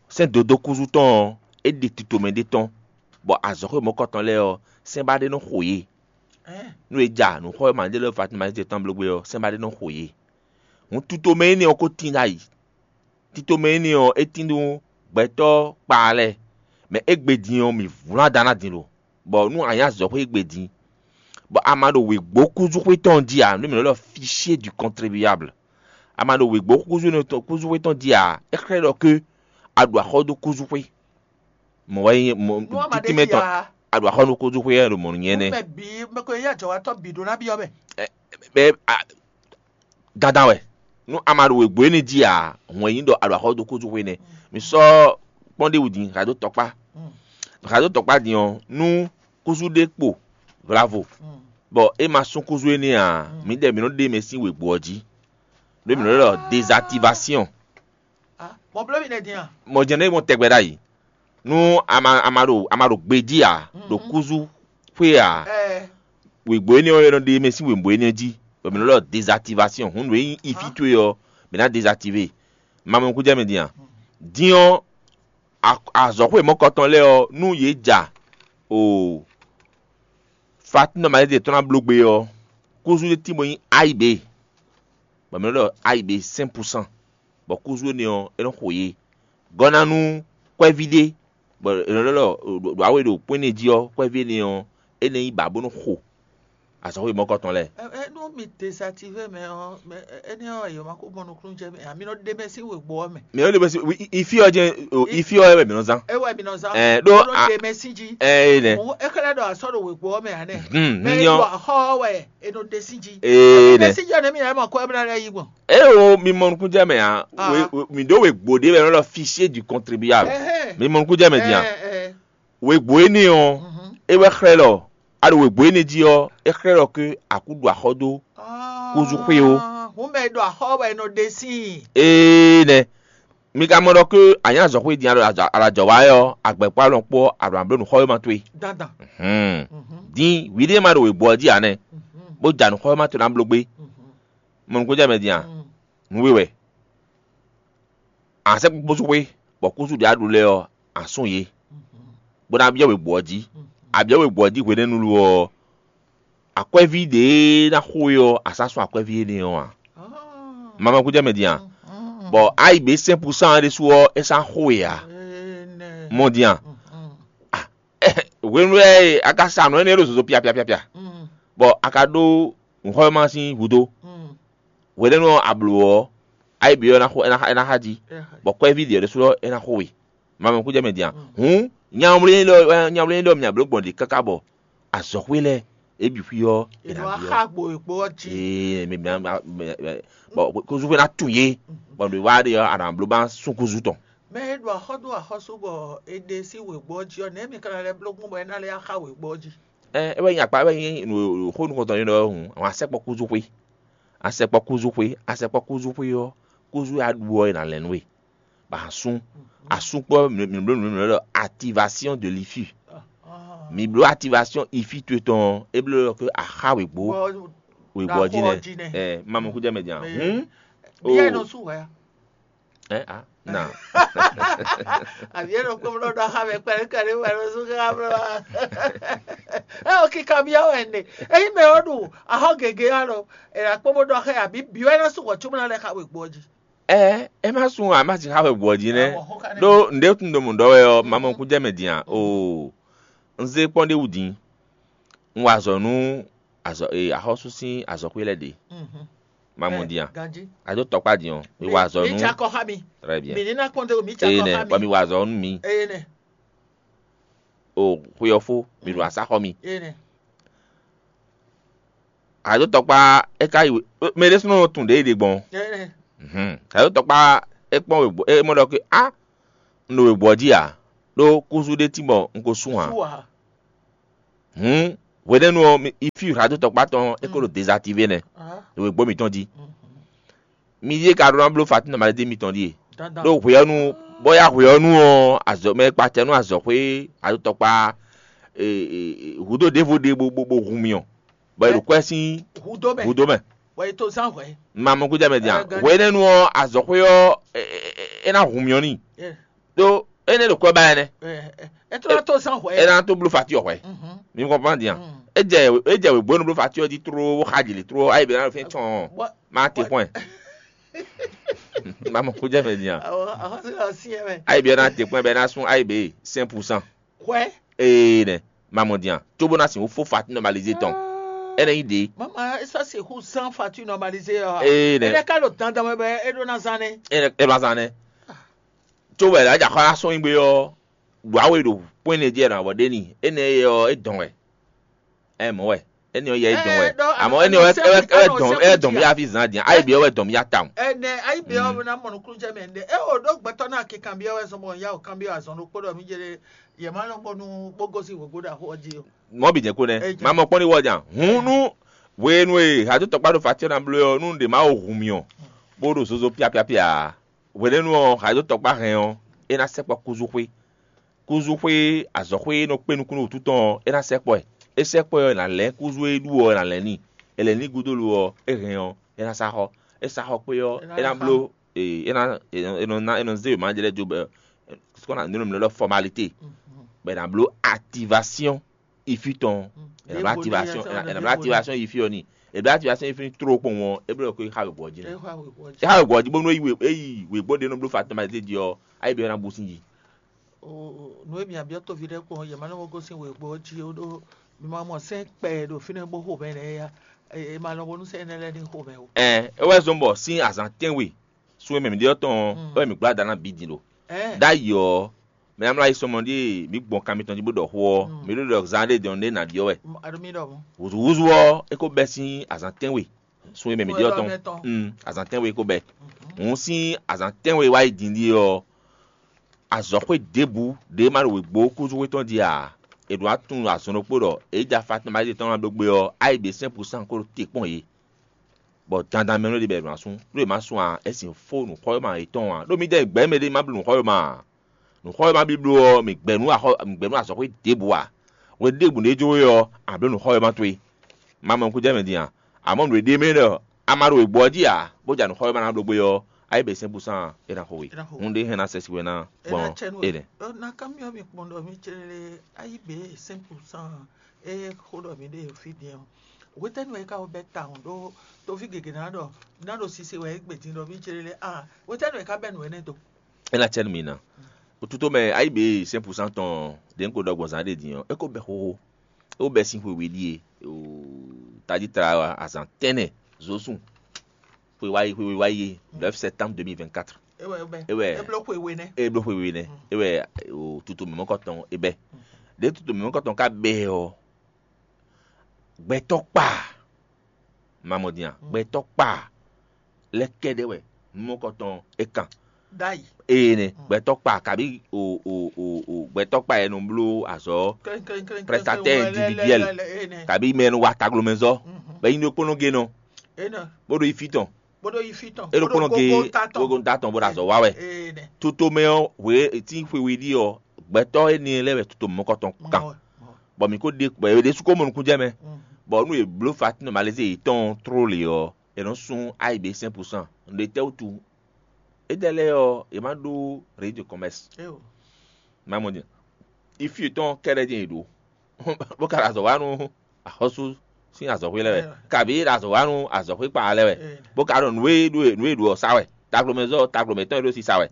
Sɛ́n dodó kúzú tɔn ɔ́, é ɖi tito mɛ ɖé tɔn, bɔ azɔ̌xwé mɔ̌kɔtɔn lɛ́ɛ ɔ́, sɛ́n ba ɖé nɔ xo yě. Nú è ja nǔ xɔ e ma ɖé lɛ́ɛ Fatima yě tɔn bló gbé ɔ́, sɛ́n ba ɖé nɔ xo yě. Hǔn tito mɛ énɛ́ ɔ́ ko tín ɖ'ayǐ. Tito mɛ énɛ́ ɔ́, é tín nú gbɛtɔ́ kpaa lɛ́ɛ, mɛ égbé din ɔ́, mǐ vlán da ná din lo, bɔ nú a nyí azɔ̌xwé égbé din, bɔ a ma ɖo wěgbó kúzúxwé tɔn jí ǎ, nú mǐ nɔ ɖɔ fichier du contribuable, a ma ɖo wěgbó kúzúxwé tɔn jí ǎ, é xlɛ́ ɖɔ ké a ɖo axɔ́ dó kúzúxwé. Mɔ̌ wɛ nyí mɔ̌ Nú a ma ɖe títí mɛ jí tɔn ǎ. A ɖo axɔ́ dó kúzúxwé wɛ ɖo mɔ̌ nyɛ nɛ́. Mɛ bǐ mɛ ko yí ajɔ̌watɔ́ bǐ ɖó ná byɔ́ mɛ. Bɛ a dandan wɛ. Nú a ma ɖo wěgbó énɛ́ jí ǎ, hɔn è nyí ɖɔ a ɖo axɔ́ dó kúzúxwé nɛ́. Mi sɔ́ kpɔ́n ɖé wǔ din, xa dó tɔkpá. Xa dó tɔkpá din ɔ́, nú kúzú ɖé kpo vlavo, bɔ é ma sún kúzú énɛ́ ǎ, mǐdɛɛ mǐ nɔ ɖe mɛ sín wěgbó ɔ́ jí. Ɖó mǐ nɔ ɖɔ désactivation. Mɔ bló mi nɛ din a? Mɔ jɛ́n nɛ́ mɔ tɛgbɛ ɖ'ayǐ. Nú a ma a ma ɖo a ma ɖo gbejí ǎ, ɖo kúzú xwé ǎ, wěgbó énɛ́ ɔ́, é nɔ ɖe mɛ sín wěgbó énɛ́ jí, bɔ mǐ nɔ ɖɔ désactivation. Hǔn nǔ e nyí ifí towe ɔ́, mǐ ná désactivé. Ma mɔ nukúnjɛ mɛ din a? Din ɔ́, a- azɔ̌xwé mɔ̌kɔtɔn lɛ́ɛ ɔ́, nú yě ja o Fatinɔ Malɛ́di tɔn ná bló gbe ɔ́, kúzú ɖé tín bó nyí ayǐ ɖe, bɔ mǐ nɔ ɖɔ ayǐ ɖe cinq pour cent, bɔ kúzú énɛ́ ɔ́, é nɔ xo yě. Gɔ́ ná nú kwɛ́ví ɖé, bɔ è nɔ ɖɔ ɖɔ ɖo awe ɖo kpɔ́n énɛ́ jí ɔ́, kwɛ́ví énɛ́ ɔ́, é nɔ nyí bǎ bó nɔ xo azɔ̌xwé mɔ̌kɔtɔn lɛ́ɛ. Ɛ ɛ nú mi désactivé mɛ ɔ́, mɛ ɛ- énɛ́ ɔ́, yǒ ma kó mɔ nukúnnú jɛ mɛ ǎ, mi nɔ ɖe mɛ sín wěgbó ɔ́ mɛ. Mɛ ɔ́ ɖe mɛ sín wi- ifi ɔ́ jɛ́n o, ifi ɔ́ wɛ mǐ nɔ zán. É wɛ mi nɔ zán. Ɛ ɖó Nɔ a- ɖe mɛ sín jí. Ɛ é nɛ. Mɔ é xlɛ́ ɖɔ a sɔ́ ɖo wěgbó ɔ́ mɛ ǎ nɛ. Hmm, Mɛ mi é nyɔ. Ɖo axɔ́ ɔ́ wɛ è nɔ ɖe sín jí. Ee Ɖe nɛ. Sín jí ɔ́ nɛ́ mi ná mɔ kɔ ɛ bó ná lɛ́ yí gbɔn. Eo mi mɔ nukúnnú jɛ mɛ ǎ. Ah. We- we- Mi ɖó wěgbó ɖé wɛ nɔ ɖɔ fichier du contribuable. Ɛhɛn. Mi mɔ nukúnnú jɛ mɛ din a? Ɛ ɛ. Wěgbó énɛ́ ɔ́, é wɛ xlɛ́ ɖɔ a ɖo wěgbó énɛ́ jí ɔ́, é xlɛ́ ɖɔ ké a kú ɖo axɔ́ dó kúzú xwé ó. Hǔn mɛ e ɖo axɔ́ wɛ è nɔ ɖe síin. Ee nɛ. Mi ka mɔ ɖɔ ké a nyǐ azɔ̌xwé din a ɖo alajɔ wa wɛ ɔ́, agbɛ̌kpá lɔn kpó a ɖo nǎ bló nǔ xɔ e ma towe. Dandan. Din hwi ɖé ma ɖo wěgbó ɔ́ jí ǎ nɛ́, bó ja nǔ xɔ e ma towe ná bló gbé. Mɔ nǔ ko jɛ mɛ din a? Nǔ we wɛ. A sɛ́ kpókpó sú xwé, bɔ kúsú ɖě a ɖu lɛ́ɛ ɔ́, a sún yě, bó ná byɔ́ wěgbó ɔ́ jí. A byɔ́ wěgbó ɔ́ jí hwenɛ́nu lo ɔ́, akwɛ́ví ɖě ná xo é ɔ́, a sá sún akwɛ́ví énɛ́ ɔ́ ǎ. Mamɛ kú jɛ mɛ din a? Bɔ ayi bě sɛ́n pusán ɖésú ɔ́, é sá xo é ǎ. Mɔ din a? Hwenu e a ka sa nǔ énɛ́ ɖo zozo piapiapiapia, bɔ a ka ɖó nǔxɔ́mɛma sín hudó. Hwenɛ́nu ɔ́, a blǒ ɔ́, ayi bǐ ɔ́, é ná xo é ná xa é ná xa jí, bɔ kwɛ́ví ɖě ɖésú ɔ́, é ná xo we. Mamɛ kú jɛ mɛ din a? Hǔn nyawlɛ́n ɖɔ nyawlɛ́n ɖɔ mǐ bló gbɔn ɖě káká bɔ azɔ̌xwé lɛ́ɛ é bǐ xwí ɔ́, è nǎ byɔ́. Xá gbo èkpó ɔ́ jí. Ee, mɛ mɛ mɛ bɔ kúzú xwé ná tun yé, bɔ nǔ e wá ɖe ɔ́, a nǎ bló ba sún kúzú tɔn. Mɛ e ɖo axɔ́ dó axɔ́sú bɔ è ɖe sín wěgbó ɔ́ jí ɔ́, nɛ̌ mi ka ná lɛ́ bló gbɔn bɔ é ná lɛ́ yá xá wěgbó ɔ́ jí? Ɛ é wɛ nyí akpa é wɛ nyí nǔ xó nukɔntɔn nyí ɖɔ hǔn, àwọn asɛkpɔ kúzú xwé. Asɛkpɔ kúzú xwé, asɛkpɔ kúzú xwé ɔ́, kúzú e a ɖu ɔ́, è nǎ lɛ́ nú we, bɔ a sún. A sún kpɔ́ mǐ mǐ bló nǔ mǐ ɖɔ activation de l'ifi. Mǐ bló activation ifi towe tɔn ɔ́, é bló ɖɔ ké a xá wěgbó wěgbó ɔ́ jí nɛ́. Ɛ ma mɔ kú jɛ mɛ din a? Hǔn. Bia nɔ sú wɛ. Ɛ a na. Àbí ẹnu kpé mlɔ ɖɔ xa mɛ kpɛɖé kpɛɖé wɛ ló sú ká mlɔ. Ɛ o kíkà bíyá wɛ ne. Eyi mɛ ɔ ɖu ahɔ gègé alɔ. Ɛ la kpó bó ɖɔ xɛ àbí bí wɛ ná sú wɔ tsó mlɔ lɛ xa wɛ gbɔ jí. Ɛ é má sun a má sixá wɛ gbɔ jí nɛ́. Ɖó nǔɖé tún ɖo mɔ̌ ɖɔ wɛ ɔ́, ma mɔ kú jɛ mɛ din a? Oo, un zé kpɔ́n ɖé wú din. Un wa azɔ̌ nú azɔ̌ e axɔ́sú sín azɔ̌xwé lɛ́ɛ ɖe. Ma mɔ din a? A dó tɔkpá din ɔ́, mi wa azɔ̌ nú. Très bien. Eye nɛ bɔ mi wa azɔ̌ nú mi. O xwe ɔ́ fó, mi ɖo asá xɔ mi. Adótɔkpá é ka yi mɛ ɖésúnɔ tún ɖě ɖe gbɔn. Adótɔkpá é kpɔn wěgbɔ é mɔ ɖɔ ké á un ɖo wěgbɔ jí ǎ, ɖó kúzú ɖé tín bɔ un ko sú ǎ. Hǔn hwenɛ́nu ɔ́, ifí adótɔkpá tɔn é ko ɖo dezaktivé nɛ́ ɖo wěgbɔ mǐtɔn jí. Mi ɖíe ka ɖó ná bló fatín nɔmalize mitɔn ɖíe. Ɖó hwe ɔ́ nu bɔ ya hwe ɔ́ nu ɔ́, azɔ̌ mɛ kpacɛ nú azɔ̌xwé adótɔkpá hǔdó ɖěvo ɖe bó bó hun myɔ, bɔ è ɖo kwɛ́ sín húdó mɛ. Bɔ è to zán hwɛ̌. Ma mɔ kújá mɛ din a? Hwenɛ́nu ɔ́, azɔ̌xwé ɔ́, é ná hun myɔ n'i. Ɖó énɛ́ ɖo kwɛ́ ba ɛnɛ́. É tlɔ́ tó zán hwɛ̌. É ná tó bló fati ɔ́ hwɛ̌. Mi kɔnpɔn din a? É jɛ é jɛ wěgbó nu bló fati ɔ́ jí tló bó xa jǐ lě tló ayi bɛ ná ɖo fɛ́n tsɔn. Má te kpɔ́n ɛ. Má mɔ kó jɛ mɛ din a? Ayi bɛ ná te kpɔ́n ɛ bɛ ná sún ayi bɛ cinq pour cent. Hwɛ. Ee nɛ, má mɔ din a? Cóbó ná sixú fó fati nɔmalize tɔn. Ɛnɛ nyi ɖe. Mama, é sɔ́ sixú zán fati nɔmalize ɔ́. Ee nɛ. É ka ɖo dandan mɛ bɛ é ɖó ná zán nɛ́. Ɛnɛ é ma zán nɛ́. Có wɛ lǎ jà xɔ ná sɔ́ nyi gbé ɔ́, ɖo awe ɖo kpɔ́n énɛ́ jí ɛ nɔ avɔ ɖé ni. Énɛ́ ɔ́ é dɔn wɛ. Ɛ mɔ̌ wɛ. Énɛ́ ɔ́ yɛ é dɔn wɛ. Amɔ̌ énɛ́ ɔ́ é dɔn é dɔn mì afi zan din. Ayi bi ɔ́ wɛ dɔn mì ata. Ɛnɛ ayi bi ɔ́ ná mɔ nukúnnú jɛ mɛ ɖe. É o ɖó gbɛtɔ́ ná kikanbyɔ́ wɛ zɔn bɔ yá o kanbyɔ́ azɔn ɖokpó ɖɔ mí jɛ yɛ má lɔ gbɔ nú bó gosín wěgbó ɖo axó ɔ́ jí o. Mɔ̌ bǐ jɛ́n kó nɛ́. Má mɔ kpɔ́n ní wɔ jan. Hǔn nú hwenu e hadótɔkpá ɖo fatíɔ́ ná bló ɔ́, nú ɖě má wo hun mì ɔ, bó ɖo zozo piapiapia ǎ. Hwenɛ́nu ɔ́, hadótɔkpá hɛn ɔ́, é ná sɛkpɔ́ kúzúxwé. Kúzúxwé azɔ̌xwé e nɔ kpé nukúnnú wǔtu tɔn ɔ́, é ná sɛkpɔ́ ɛ. É sɛkpɔ́ ɛ ɔ́, è nǎ lɛ́n kúzú e ɖu ɔ́, è nǎ lɛ́n n'i. È lɛ̌n n'i gúdo lo ɔ́, é hɛn ɔ́, é ná sá xɔ. É sá xɔ kpé ɔ́, é ná bló, é ná é nɔ ná é nɔ zé wěma jɛ lɛ́ɛ jó bɔ kɔ́ ná nǔ e mǐ nɔ ɖɔ fɔmalité, bɔ è nǎ bló ativasiɔ́n ifi tɔn. È nǎ bló ativasiɔ́n è nǎ bló ativasiɔ́n ifi ɔ́ n'i. È bló ativasiɔ́n ifi n'i tló kpɔ́n ɔ́, é bló ɖɔ kó é xa wěgbɔ jí nɛ́. É xa wěgbɔ jí bónú é yi wěgbó ɖé nɔ bló fɔmalité jí ɔ́, ayi bɛ ɔ́ ná bú sín jí. Nǔ e mǐ byɔ́ toví lɛ́ɛ kpɔ́n, yě má nɔ gosín wěgbó ɔ́ jí ó ɖó mi ma mɔ sɛ́n kpɛ ɖo fínɛ́ bó xo mɛ nɛ́ yá. È ma nɔ bónú sɛ́n énɛ́ lɛ́ɛ ní xo mɛ ó. Ɛn é wɛ zɔ́n bɔ sín azǎn tɛ́nwe sun e mɛ mǐ ɖe ɔ́ tɔn ɔ́ wɛ mǐ gbla da ná bǐ din ɖo. Ɖ'ayǐ ɔ́, mɛ e ná mlá yi sɔmɔ ɖíe mǐ gbɔn kan mitɔn jí bó ɖɔ xó ɔ́, mǐ ɖo ɖɔ zan ɖé dɔn ɖé nǎ byɔ́ wɛ. Hǔzúhúzú ɔ́, é ko bɛ́ sín azǎn tɛ́nwe sun e mɛ mǐ ɖe ɔ́ tɔn. Azǎn tɛ́nwe é ko bɛ́. Hǔn sín azǎn tɛ́nwe wá yi din ɖíe ɔ́, azɔ̌xwé ɖěbǔ ɖě ma ɖo wěgbó kúzúxwé tɔn jí ǎ. È ɖǒ ná tunwun azɔn ɖokpó ɖɔ è yi ja Fatima tɔn ná ɖó gbé ɔ́, ayi ɖě sɛ́n pusan ko ɖo te kpɔ́n yě. Bɔ dandan mɛ nɔ ɖi bɔ è nɔ asún, ɖó è ma sún ǎ, é sin fó nǔxɔ́yɔ́mɛ yětɔn ǎ. Ɖó mǐdɛɛ gbɛ̌ mɛ ɖé ma bló nǔxɔ́yɔ́mɛ ǎ. Nǔxɔ́yɔ́mɛ bíbló ɔ́, mǐ gbɛ̌ nú axɔ mǐ gbɛ̌ nú azɔ̌xwé ɖěbǔ ǎ. Hwenu ɖěbǔ ɖé jló we ɔ́, a blǒ nǔxɔ́yɔ́mɛ towe. Ma mɔ nukúnjɛmɛ din a? Amɔ̌ nǔ e ɖe mɛ ɖɔ a ma ɖo wěgbó ɔ́ jí ǎ, bó ja nǔxɔ́yɔ́mɛ ná bló gbé ɔ́, a yi bɛ sɛ́n pusan ɔ́, é ná xo we. Hǔn ɖé hɛn ná sɛ́ si wɛ ná gbɔn énɛ́. Ná kanbyɔ́ mi kpɔ́n ɖɔ mi cɛ́ lé a yi bě cinq pour cent e xó ɖɔ mi ɖe fí din ɔ́, hwetɛ́nu wɛ é ka ko bɛ́ tawun ɖó toví gěgé ná ɖɔ ná ɖo sise wɛ é gbe din ɖɔ mi cɛ́ lé a hwetɛ́nu wɛ é ka bɛ́ nǔ énɛ́ dó? É ná cɛ́ nú mi ná. Tutomɛ a yi bě cinq pour cent tɔn ɖě un ko ɖɔ gbɔn zǎn ɖé din ɔ́, é ko bɛ́ xóxó. É ko bɛ́ sín xwe we ɖíe, tají tla azǎn tɛ́nnɛ zǒsún. Xwe wá yi xwe wá yi neuf septembre deux mille vingt-quatre. É wɛ é bló xwe we nɛ́. É bló xwe we nɛ́. É wɛ tutomɛ mɔ̌kɔtɔn é bɛ́. Ɖěe tutomɛ mɔ̌kɔtɔn ka bɛ́ ɔ́, gbɛtɔ́ kpa, ma mɔ din a? Gbɛtɔ́ kpa lɛ́ kɛ́ɖɛ́ wɛ mɔ̌kɔtɔn é kan. Eye nɛ gbɛtɔ́ kpa kabi o o o o gbɛtɔ́ kpa yɛ nɔ bló azɔ̌, prestataire individuel, kabi mɛ nɔ wa taglomɛzɔ́, bɛ nyi ɖokpónɔ gé nɔ, bó ɖo yi fí tɔn, é ɖokpónɔ gé gogo ta tɔn bó ɖo azɔ̌ wa wɛ. Tutomɛ ɔ́ hwe tí xwe we ɖi ɔ́, gbɛtɔ́ énɛ́ lɛ́ɛ wɛ tutomɛ mɔ̌kɔtɔn kan. Bɔ mǐ ko ɖe bɔ è ɖésú ko mɔ nukúnjɛmɛ, bɔ nú è bló fatinɔ malezé yětɔn tló lě ɔ́, è nɔ sún ayǐ ɖé cinq pour cent. Nǔɖé tɛ́ wútu? Étɛ́ lɛ́ɛ ɔ́, è má ɖó réseau de commerce. Má mɔ din, ifi yětɔn kɛ́ɖɛ́ din è ɖǒ, bó ka ɖo azɔ̌ wa nú axɔ́sú sín azɔ̌xwé lɛ́ɛ wɛ, kabǐ ɖo azɔ̌ wa nú azɔ̌xwé kpa lɛ́ɛ wɛ, bó ka ɖo nǔ e ɖo nǔ e ɖo ɔ́ sá wɛ. taglomɛzɔ́ taglomɛ tɔn e ɖo sisa wɛ,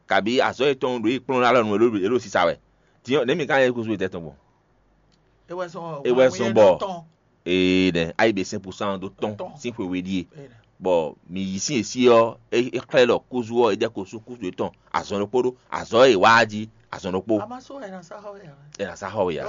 kabi azɔ̌ yětɔn ɖo yi kplɔ́n alɔ nu e ɖo sisa wɛ. Din ɔ́, nɛ̌ mi ka nyí kúzú etɛ́ tɔn gbɔn? É wɛ zɔn bɔ ee nɛ ayi be sɛn pusan ɖó tɔn sín xwe we ɖíe, bɔ mi yi sín e sí ɔ́, é xlɛ́ ɖɔ kúzú ɔ́, é jɛ ko sú kúzú yětɔn azɔn ɖokpó ɖó azɔ̌ e wá jí azɔn ɖokpó. È nǎ sá xɔ we ǎ.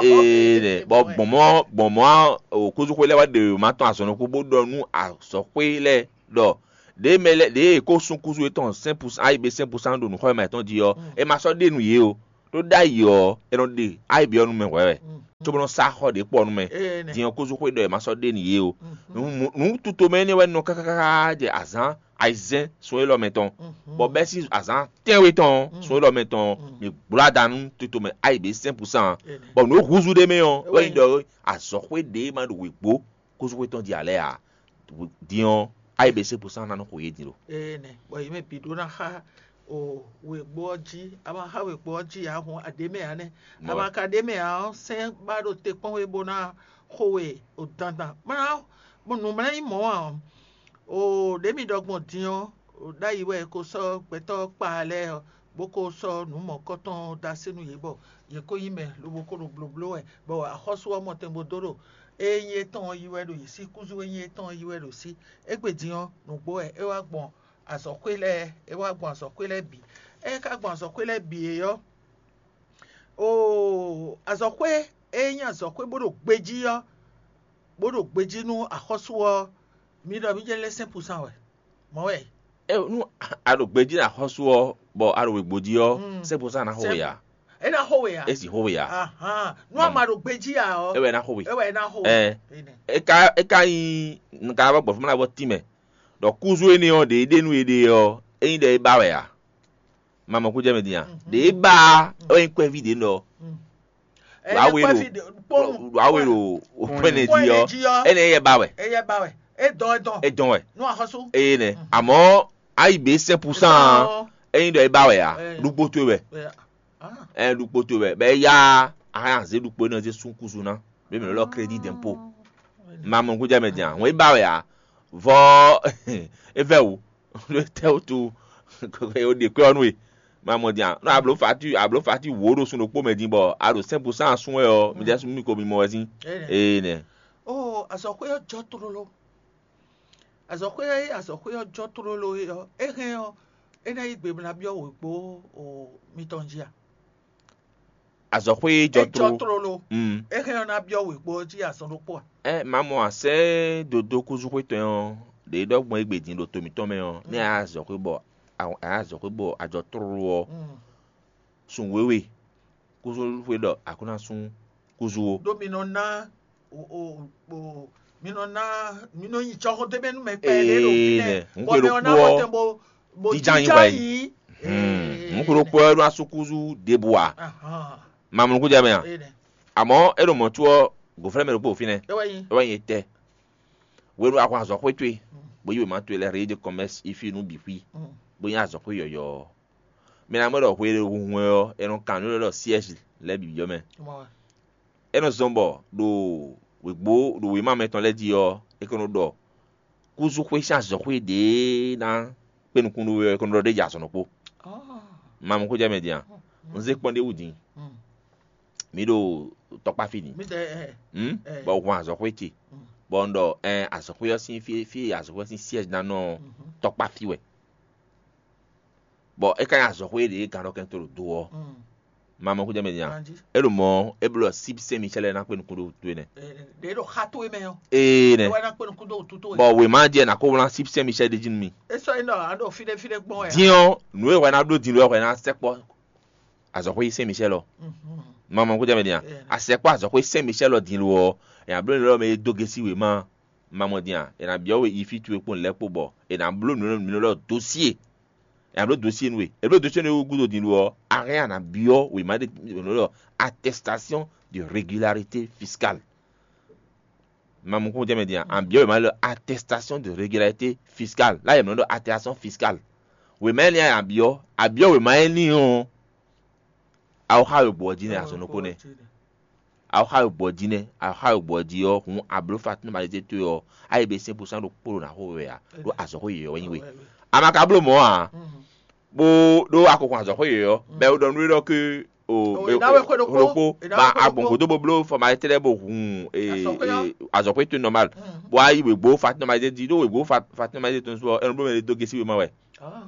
Ee nɛ bɔ gbɔn mɔ gbɔn mɔ kúzú xwe lɛ́ɛ wá ɖe ma tɔn azɔn ɖokpó bó ɖɔ nú azɔ̌xwé lɛ́ɛ ɖɔ ɖěe mɛ lɛ́ɛ ɖěe è kó sú kúzú yětɔn sɛn pusan ayi be sɛn pusan ɖo nǔxɔ e ma yětɔn jí ɔ́, è ma sɔ́ ɖe nú yě o. Ɖó ɖ'ayǐ ɔ́, è nɔ ɖe ayǐ byɔ́ nú mɛ hwɛ̌ wɛ. Cóbó nɔ sá xɔ ɖě kpɔ nú mɛ. Din ɔ́, kúzú xwé ɖɔ è ma sɔ́ ɖe nú yě o. Nǔ tutomɛ énɛ́ wɛ nɔ káká jɛ azǎn ayizɛ́n sun élɔ́ mɛ tɔn, bɔ bɛ́ sín azǎn tɛ́nwe tɔn sun élɔ́ mɛ tɔn, mi gblo ada nú tutomɛ ayǐ be sɛn pusan, bɔ nǔ e húzú ɖ'é mɛ ɔ́ wɛ nyí ɖɔ azɔ̌xwé ɖě ma ɖo wěgbó kúzú xwé tɔn jí ǎ lɛ́ɛ ǎ. Din ɔ́, ayi be sɛ́n pusan ná nɔ xo yě din lo. Ee nɛ, bɔ yě mɛ bǐ ɖó ná xá o wěgbó ɔ́ jí, a ma xá wěgbó ɔ́ jí ǎ hǔn a ɖě mɛ ǎ nɛ́. A ma ka ɖě mɛ ǎ ɔ́, sɛ́n ba ɖo te kpɔ́n we bó ná xo we o dandan. Mlá nǔ mlá nyí mɔ̌ ǎ ɔ́, o ɖě mi ɖɔ gbɔn din ɔ́, ɖ'ayǐ wɛ è ko sɔ́ gbɛtɔ́ kpa lɛ́ɛ ɔ́, bó ko sɔ́ nǔ mɔ̌kɔtɔn ɔ́ dó así nú yě bɔ yě ko nyí mɛ lobo ko ɖo blǒbló wɛ, bɔ axɔ́sú ɔ́ mɔ tɛn bó dó ɖo ée nyí étɔn ɔ́ yí wɛ ɖo yě sí, kúzú e nyí étɔn ɔ́ yí wɛ ɖo sí. Égbé din ɔ́, nǔgbó wɛ é wá gbɔn azɔ̌xwé lɛ́ɛ, é wá gbɔn azɔ̌xwé lɛ́ɛ bǐ. Ée é ka gbɔn azɔ̌xwé lɛ́ɛ bǐ é ɔ́, oo azɔ̌xwé e nyí azɔ̌xwé bó ɖo gbejí ɔ́, bó ɖo gbejí nú axɔ́sú ɔ́, mi ɖɔ mǐ jɛ lɛ́ sɛ́n pusan wɛ. Mɔ̌ wɛ. E nú a ɖo gbejí nú axɔ́sú ɔ́, bɔ a ɖo wěgbó jí ɔ́, sɛ́n pusan ná xo we ǎ. É ná xo we ǎ. É sì xo we ǎ. Ahan. Nú a ma ɖo gbejí ǎ ɔ́, é wɛ ná xo we. É wɛ ná xo we. Ɛ é ka é ka nyí nka bɔ gbɔ̌ fún mi ná bɔ tínmɛ, ɖɔ kúzú énɛ́ ɔ́ ɖě é ɖe nú éɖée ɔ́, é nyí ɖɔ é ba wɛ ǎ. Ma mɔ kú jɛ mɛ din a? Ɖě é ba ɔ́, é nyí kɔ́ɛví ɖě nɔ. Wǎ we ɖo wǎ we ɖo pɛ́nɛ jí ɔ́, énɛ́ yɛ ba wɛ. Eyɛ ba wɛ. É dɔn é dɔn. É dɔn wɛ. Nú axɔ́sú. Eye nɛ. Àmọ́ ayi bě sɛ́n pusan ɔ́, é nyí ɖɔ é ba wɛ ǎ. Ɖukpó towe wɛ. Ɛ ɖukpó towe wɛ. Bɛ ya a hɛn azé ɖukpó énɛ́ zé sún kúzu ná. Bɛ mɛ lɔ crédit d'impôt. Ma mɔ kú jɛ mɛ din a? Wọ́n é ba wɛ ǎ. Vɔ é vɛ wǔ. Ɖo tɛ wútu o ɖe kwɛ ɔ́ nú we. Ma mɔ din a? Nɔ abló fati abló fati wǒ ɖo sun ɖokpó mɛ din bɔ a ɖo sɛ́n pusan asún wɛ ɔ́, mi jɛ sún mi ko mi mɔ wɛ sín. Ee nɛ. Oo azɔ̌xwé ɔ́ jɔ tlóló. Azɔ̌xwé e azɔ̌xwé ɔ́ jɔ tlóló é ɔ́, é hɛn ɔ́, é ná yí gbe bó ná byɔ́ wěgbó o mitɔn jí a? Azɔ̌xwé e jɔ É jɔ tlóló. Tlóló. Mm. É hɛn ɔ́ ná byɔ́ wěgbó ɔ́ jí azɔn ɖokpó a? Ɛ ma mɔ asɛ dodo kúzúxwé tɔn ɔ́, ɖě ɖɔ gbɔn égbé din ɖo to mǐtɔn mɛ ɔ́, nɛ́ a azɔ̌xwé bɔ a azɔ̌xwé bɔ a jɔ tlóló ɔ́, Mm. sun wěwe kúzúxwé ɖɔ a kó ná sú kúzú ó. Ɖó mi nɔ ná o o o mi nɔ ná mi nɔ nyi jɔxɔ dó mɛ nú mɛ kpɛɖé ɖo Ee, fínɛ́ nɛ, n bɔ xwe mɛ ɔ ná ɖokpó bɔ ɔ́, tɛn bo bo jija nyi jija wɛ yi. Yi. Hmm, n xwe ɖokpó ɔ́ ɖo asúkúzú ɖěbǔ ǎ. Ahan. Mamlú kújá mɛ a? Ee nɛ. Àmọ́ é ɖo mɔ̌ có ɔ́, gǒflɛ́ mɛ ɖokpó ɖo fínɛ́. É wɛ nyi. É wɛ nyi etɛ́. Hwenu a xɔ azɔ̌xwé towe, bó yi wěma towe lɛ́ɛ Régie de Commerce yi fí nú bǐ xwí, bó nyí azɔ̌xwé yɔ̌yɔ́ ɔ́, mi ná mɔ ɖɔ hwe e hunhun wɛ ɔ́, è nɔ kan nǔ élɔ́ ɖɔ siège lɛ́ɛ bǐ jɔ mɛ. É nɔ zɔn bɔ ɖo wěgbó ɖo wěma mɛtɔn lɛ́ɛ jí ɔ́, é ko nɔ ɖɔ kúzúxwé sín azɔ̌xwé ɖě ná kpé nukún nú we ɔ́, é ko nɔ ɖɔ ɖ'é jɛ azɔ̌ nɔ kpó. Ma mɔ xó jɛ mɛ din a? Un zé kpɔ́n ɖé wú din. Mǐ ɖo tɔkpá fí din. Bɔ un hun azɔ̌xwé ce, bɔ un ɖɔ ɛn azɔ̌xwé ɔ́ sín fí fí azɔ̌xwé ɔ́ sín siège ná nɔ tɔkpá fí wɛ. Bɔ é ka nyí azɔ̌xwé ɖě gǎn ɖɔ kɛn to ɖo do ɔ́. Ma mɔ xó jɛ mɛ din a? É ɖo mɔ̌ é bló ɔ́ síbí Saint Michel ná kpé nukún ɖó wútu énɛ́. Ɖě ɖo xa towe mɛ ɔ́. Ee nɛ. Wɛ ná kpé nukún ɖó wútu towe. Bɔ wěma jɛ ná kó wlán síbí Saint Michel ɖé jí nú mi. É sɔ́ é ɖɔ a ɖo fínɛ́ fínɛ́ gbɔn wɛ. Din ɔ́, nǔ e hwɛ ná bló din lɔ hwɛ ná sɛkpɔ́ azɔ̌xwé Saint Michel ɔ́. Ma mɔ xó jɛ mɛ din a? A sɛkpɔ́ azɔ̌xwé Saint Michel ɔ́ din lo ɔ́, è nǎ bló nǔ lɔ mɛ e dó gesi wěma. Ma mɔ din a? È nǎ byɔ́ we yi fí towe kpó nǔ lɛ́ɛ kpó bɔ è nǎ bló nǔ nǔ lɔ dó sí e. È nǎ bló dosyé nú we. È bló dosyé nú we gúdo din lo ɔ́, a hɛn a nǎ byɔ́ wěma ɖé nɔ ɖɔ attestation de régularité fiscale. Ma mɔ kún jɛ mɛ din a? A byɔ́ wěma ɖé attestation de régularité fiscale. Là yɛ mɛ nɔ ɖɔ attestation fiscale. Wěma énɛ́ a byɔ́, a byɔ́ wěma énɛ́ ɔ́, a wɔ xá we gbɔ ɔ́ jí nɛ azɔ̌ nɔ kó nɛ. Awɔxá wegbo ɔ́ jí nɛ́, awɔxá wegbo ɔ́ jí ɔ́, hǔn a blǒ fatín malizé towe ɔ́, a yi bɛ́sín búsán ɖokpó ɖo nǎ xo we wě ǎ, ɖó azɔ̌xwé yěyɔ́ wɛ nyí we. A ma ka bló mɔ̌ ǎ, bó ɖó a ko hun azɔ̌xwé yěyɔ́, bɔ è ɖɔ nú we ɖɔ ké o Ò, è ná we xwé ɖokpó, ɖokpó, è ná ma we xwé a gbɔn ɖokpó. Gǒdo bó bló fɔmalitélɛ́ bó hun e, Azɔ̌xwé ɔ́. E, azɔ̌xwé towe nɔmal, bó wá yi wěgbó fatín nɔmalizé jí, ɖó wěgbó fa- fatín nɔmalizé tɔn sú ɔ́, é nɔ bló mɛ ɖé dó gésí wéma wɛ, Ah,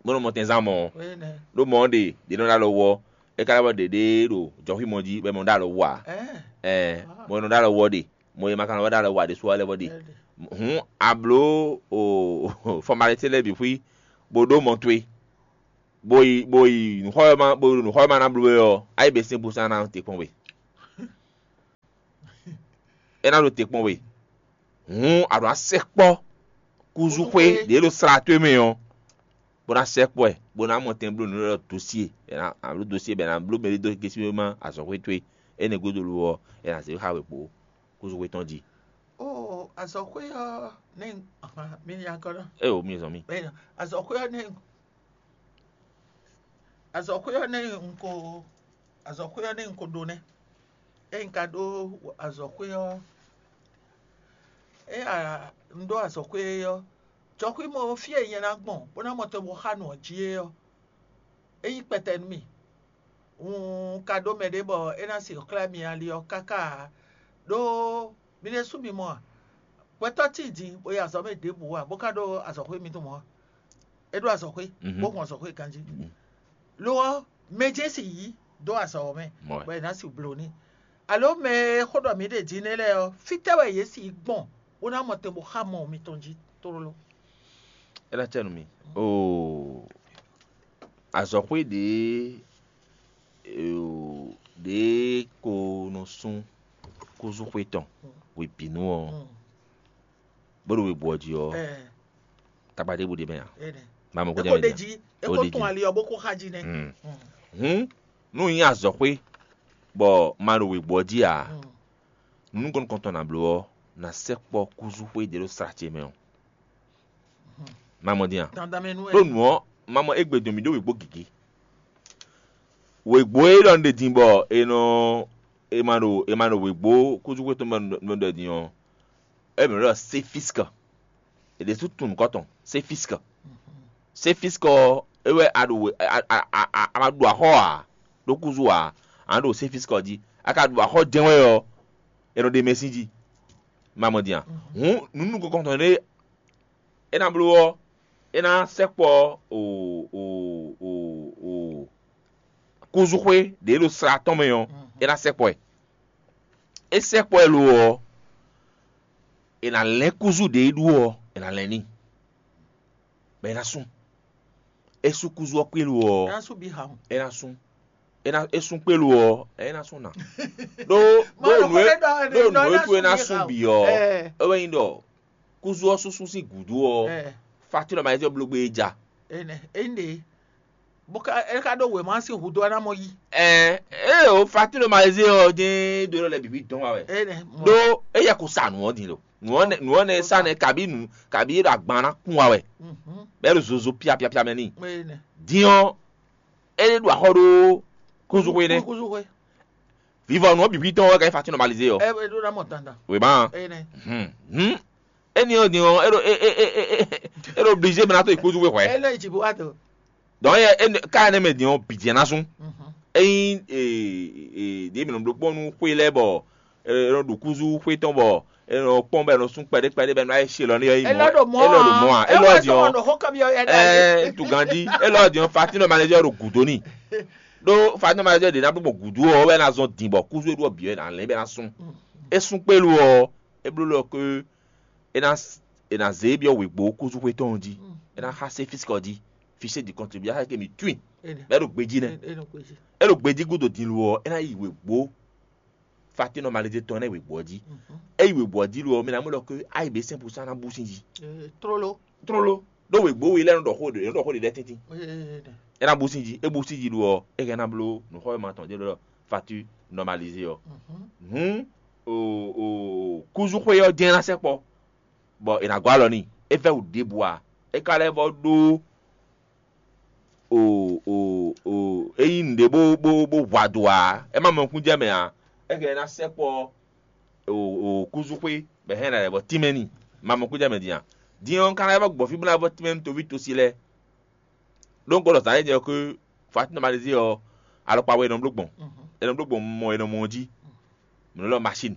bó nɔ mɔ tɛnzán mɔ ɔ́. Wé nɛ́. Ɖó mɔ ɔ́ ɖe ɖě nɔ ɖó alɔ wú ɔ́, é ka lɛ́ vɔ ɖě ɖé ɖo jɔxwímɔ jí bɔ é mɔ ɖó alɔ wú ǎ. Ɛ, Ɛɛ, mɔ e nɔ ɖó alɔ wú ɔ́ ɖe, mɔ e ma ka nɔ ɖó alɔ wú ǎ ɖésú ɔ́ lɛ́ vɔ ɖe. Ɛ ɖe. Hǔn a blǒ o fɔmalitélɛ́ bǐ xwí, bó ɖó mɔ towe, bó yi bó yi nǔxɔ́yɔ́má bó ɖo nǔxɔ́yɔ́má ná bló we ɔ́, a yi bɛ́sín búsán ná te kpɔ́n we. É ná ɖo te kpɔ́n we. Hǔn a ɖǒ ná sɛkpɔ́ kúzúxwé ɖě ɖo slá towe mɛ ɔ́, bó ná sɛkpɔ́ ɛ, bó ná mɔ tɛn bló nǔ ɖɔ dosíe, è nǎ bló dosíe bɔ è nǎ bló mɛ ɖé dó gésí wéma azɔ̌xwé towe. Énɛ́ gúdo lo ɔ́, è nǎ zě xá we kpo kúzúxwé tɔn jí. Ó, azɔ̌xwé ɔ́ nɛ́ mi nya gɔ́ ná. É o mi zɔn mì. Bɛ́ azɔ̌xwé ɔ́ nɛ́ azɔ̌xwé ɔ́ nɛ́ un ko azɔ̌xwé ɔ́ nɛ́ un ko ɖó nɛ́. Ényí ka ɖó azɔ̌xwé ɔ́, é a un ɖó azɔ̌xwé ɔ́, jɔxwí mɔ fí e nyɛ ná gbɔn bó ná mɔ tɔn bó xá nǔ ɔ́ jí é ɔ́, é nyí kpɛtɛ nú mì. Un ka ɖó mɛɖé bɔ é ná sixú xlɛ́ mi ali ɔ́ káká ǎ, ɖó mi ɖésú mi mɔ a? Gbɛtɔ́ tíin din bó yi azɔ̌ mɛ ɖěbǔ ǎ, bó ka ɖó azɔ̌xwé mitɔn mɔ̌ a? É ɖó azɔ̌xwé, bó hun azɔ̌xwé ganjí. Lo ɔ́, mɛ jɛ́n si yǐ dó azɔ̌ ɔ́ mɛ, bɔ è nǎ si bló n'i. Alo mɛ e xó ɖɔ mǐ ɖe din nɛ́ lɛ́ɛ ɔ́, fítɛ́ wɛ yě si yi gbɔn bó ná mɔ tɛn bó xá mɔ mitɔn jí tlóló? É ná cɛ nú mi. Oo, azɔ̌xwé ɖě ɖě ko nɔ sú kúzúxwé tɔn hwebǐnu ɔ́, bó ɖo wěgbó ɔ́ jí ɔ́, tagba ɖěbǔ ɖ'é mɛ ǎ. Má mɔ kó jɛ mɛ ɖe jí, é kó tún ali ɔ́ bó kó xá jí nɛ́. Hǔn, nú nyí azɔ̌xwé bɔ ma ɖo wěgbó ɔ́ jí ǎ, nǔ nukɔn nukɔntɔn ná bló ɔ́, ná sɛkpɔ́ kúzúxwé ɖě ɖo sla ce mɛ ɔ́. Má mɔ dín a? Dandan mɛ nú ɛ. Ɖó nǔ ɔ́, má mɔ égbé dɔn mì ɖó wěgbó gěgé. Wěgbó e ɖɔ un ɖe din bɔ è nɔ è ma ɖo è ma ɖo wěgbó kúzúxwé tɔn mɛ nɔ ɖɔ din ɔ́, é mɛ ɖɔ séfiskɔ. È ɖě sú tunwun nǔkɔ tɔn, séfiskɔ. Séfiskɔ ɔ́, é wɛ a ɖo we- a a a a a ma ɖu axɔ́ ǎ, ɖó kúzú ǎ, a nǎ ɖo séfiskɔ jí. A ka ɖu axɔ́ jɛ́n wɛ ɔ́, è nɔ ɖe mɛ sín jí. Má mɔ din a? Hǔn nǔ nukɔntɔn ɖé é ná bló ɔ́, é ná sɛkpɔ́ o o o o kúzúxwé ɖě ɖo sla tɔn mɛ ɔ́, é ná sɛkpɔ́ ɛ. É sɛkpɔ́ ɛ lo ɔ́, è nǎ lɛ́n kúzú ɖě é ɖu ɔ́, è nǎ lɛ́n n'i, bɔ é ná sú. É sú kúzú ɔ́ kpé lo ɔ́, Ná sú bí ha hɔn. É ná sú. É ná é sú kpé lo ɔ́, é ná sú ná. Ɖó Má ɖó ɖo nǔ é xó ɖé ɖɔ ɖó nǔ é ɖɔ é ná sú é ná bí sú ha o. Bǐ ɔ́, Ɛɛ. É wɛ nyí ɖɔ kúzú ɔ́ súsú sín gǔdo ɔ́, Ɛɛ. Fatín ɔ́ ma yi bló gbé é ja. Énɛ́, é ɖe. Bó ka é ka ɖó wěma sín hǔdó ɔ́ ná mɔ yí. Ɛɛ, ée o Fatín ɔ́ ma yi ɔ́ jɛ́n ɖó lɔ lɛ bǐ dɔn wá wɛ. Énɛ́, mɔ. Ɖó é yɛ ko sa nǔ ɔ́ din lo. Nǔ ɔ́ nɛ nǔ ɔ́ nɛ sa nɛ kabí nǔ kabí é ɖo agban ná kún wá wɛ. Mhm. Bɔ é ɖo zozo piapiapia mɛ n'i. Énɛ́. Din ɔ́, é ɖo axɔ ɖó kúzúxwé nɛ́. Kúzúxwé. Vivɔ nǔ ɔ́ bǐ tɔn wɛ ka nyí Fatín nɔmalizé ɔ́. Ɛ é ɖó ná mɔ dandan. Wěma. Énɛ́. Hum. Hum. Éni ɔ́ din ɔ́, é ɖo é é é é é é ɖo blizé mɛ ná tó yi kúzúxwé hwɛ̌. É lɔ yi jǐ bó wá do. Donc é é ká énɛ́ mɛ din ɔ́ bǐ jɛ́n ná sún. Mhm. Ényí e e ɖě mǐ nɔ bló kpɔ́n nú xwé lɛ́ɛ bɔ è nɔ ɖu kúzú xwé tɔn bɔ è nɔ kpɔ́n bɔ è nɔ sún kpɛɖé kpɛɖé bɔ è nɔ yi se lɔ n'i ɔ́ yi Elɔ ɖo mɔ a? Elɔ ɖo mɔ a? Elɔ din ɔ́. Xó kɔmi ɔ́ yɛ ɖe. Ɛɛ, to ganjí. Elɔ din ɔ́, Fatín nɔ malɛzɛ ɖo gǔdo n'i. Ɖó Fatín nɔ malɛzɛ ɖě ná bló gbɔn gǔdo ɔ́ wɛ ná zɔn din bɔ kúzú e ɖu ɔ́ bǐ wɛ ná lɛ́n bɔ é ná sún. É sún kpé lo ɔ́, é bló lɔ ké é ná è nǎ zé byɔ́ wěgbó kúzú xwé tɔn ɔ́ jí. É ná xá sé físikɔ jí. Fisé di kɔntribúyá ke mi tún i. Bɔ é ɖo gbejí nɛ́. É ɖo gbejí gúdo din lo ɔ́, é ná yi wěgbó Fatín nɔ malɛzɛ tɔn nɛ́ wěgbó ɔ́ jí. É yi wěgbó ɔ́ jí lo ɔ́, mi ná mɔ lɔ ké ayi bě sɛ́n púsá ná bú sín jí. Tlóló. Tlóló. Ɖó wěgbó we lɛ́ɛ nɔ ɖɔ xó ɖě nɔ ɖɔ xó ɖě lɛ́ɛ tɛ́ntin. É ná bú sín jí, é bú sín jí ɖu ɔ́, é hɛn ná bló nǔxɔ́mɛ tɔn ɖé ɖɔ Fatín nɔmalizé ɔ́. Hǔn o o kúzúxwé ɔ́ jɛ́n ná sɛkpɔ́, bɔ è nǎ gɔ́ alɔ n'i. É vɛ́ wǔ ɖěbǔ ǎ. É ka lɛ́ vɔ ɖó o o o é nyí nǔɖé bó bó bó hu ado ǎ. É má mɔ nukúnjɛmɛ ǎ. É hɛn ná sɛkpɔ́ o kúzúxwé bɔ é hɛn ná lɛ́ vɔ tínmɛ n'i. Mamɔ kújá mɛ din a? Din ɔ́, un ka ná vɔ gbɔn fí bó ná vɔ tínmɛ nú toví tosi lɛ́ɛ. Ɖó un gbɔdɔ zǎn é jɛ xwé Fatima Malizé ɔ́, alɔkpa wɛ è nɔ bló gbɔn. È nɔ bló gbɔn mɔ è nɔ mɔ ɔ́ jí. Mɔ̌ lɔ machine.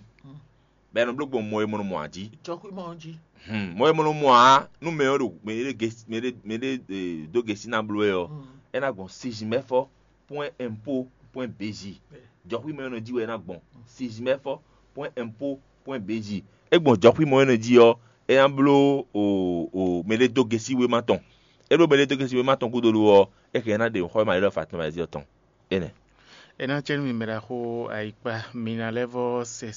Bɔ è nɔ bló gbɔn mɔ è mɔ nɔ mɔ ǎ jí. Jɔxwímɔ jí. Hmm, mɔ è mɔ nɔ mɔ ǎ nú mɛ ɔ́ ɖo mɛ ɖé gesi mɛ ɖé mɛ ɖé eh, dó gesi ná bló wɛ ɔ́, é ná gbɔn sizinmɛfɔ pwɛn ɛnpo pwɛn bezi. Jɔxwímɔ e nɔ jí wɛ é ná gbɔn. Sizinmɛfɔ pwɛn ɛnpo pwɛn bezi. É gbɔn jɔxwímɔ e nɔ jí ɔ́, é ná bló o o mɛ ɖé dó gesi wéma tɔn. É bló mɛ ɖé dó gesi wéma tɔn gúdo ɔ́, é hɛn ná ɖe xɔ e ma lɛ ɖɔ Fatima Malizé ɔ́ tɔn. Énɛ́. É ná cɛ nú mi mɛ ɖaxó ayikpa, mi ná lɛ́ vɔ se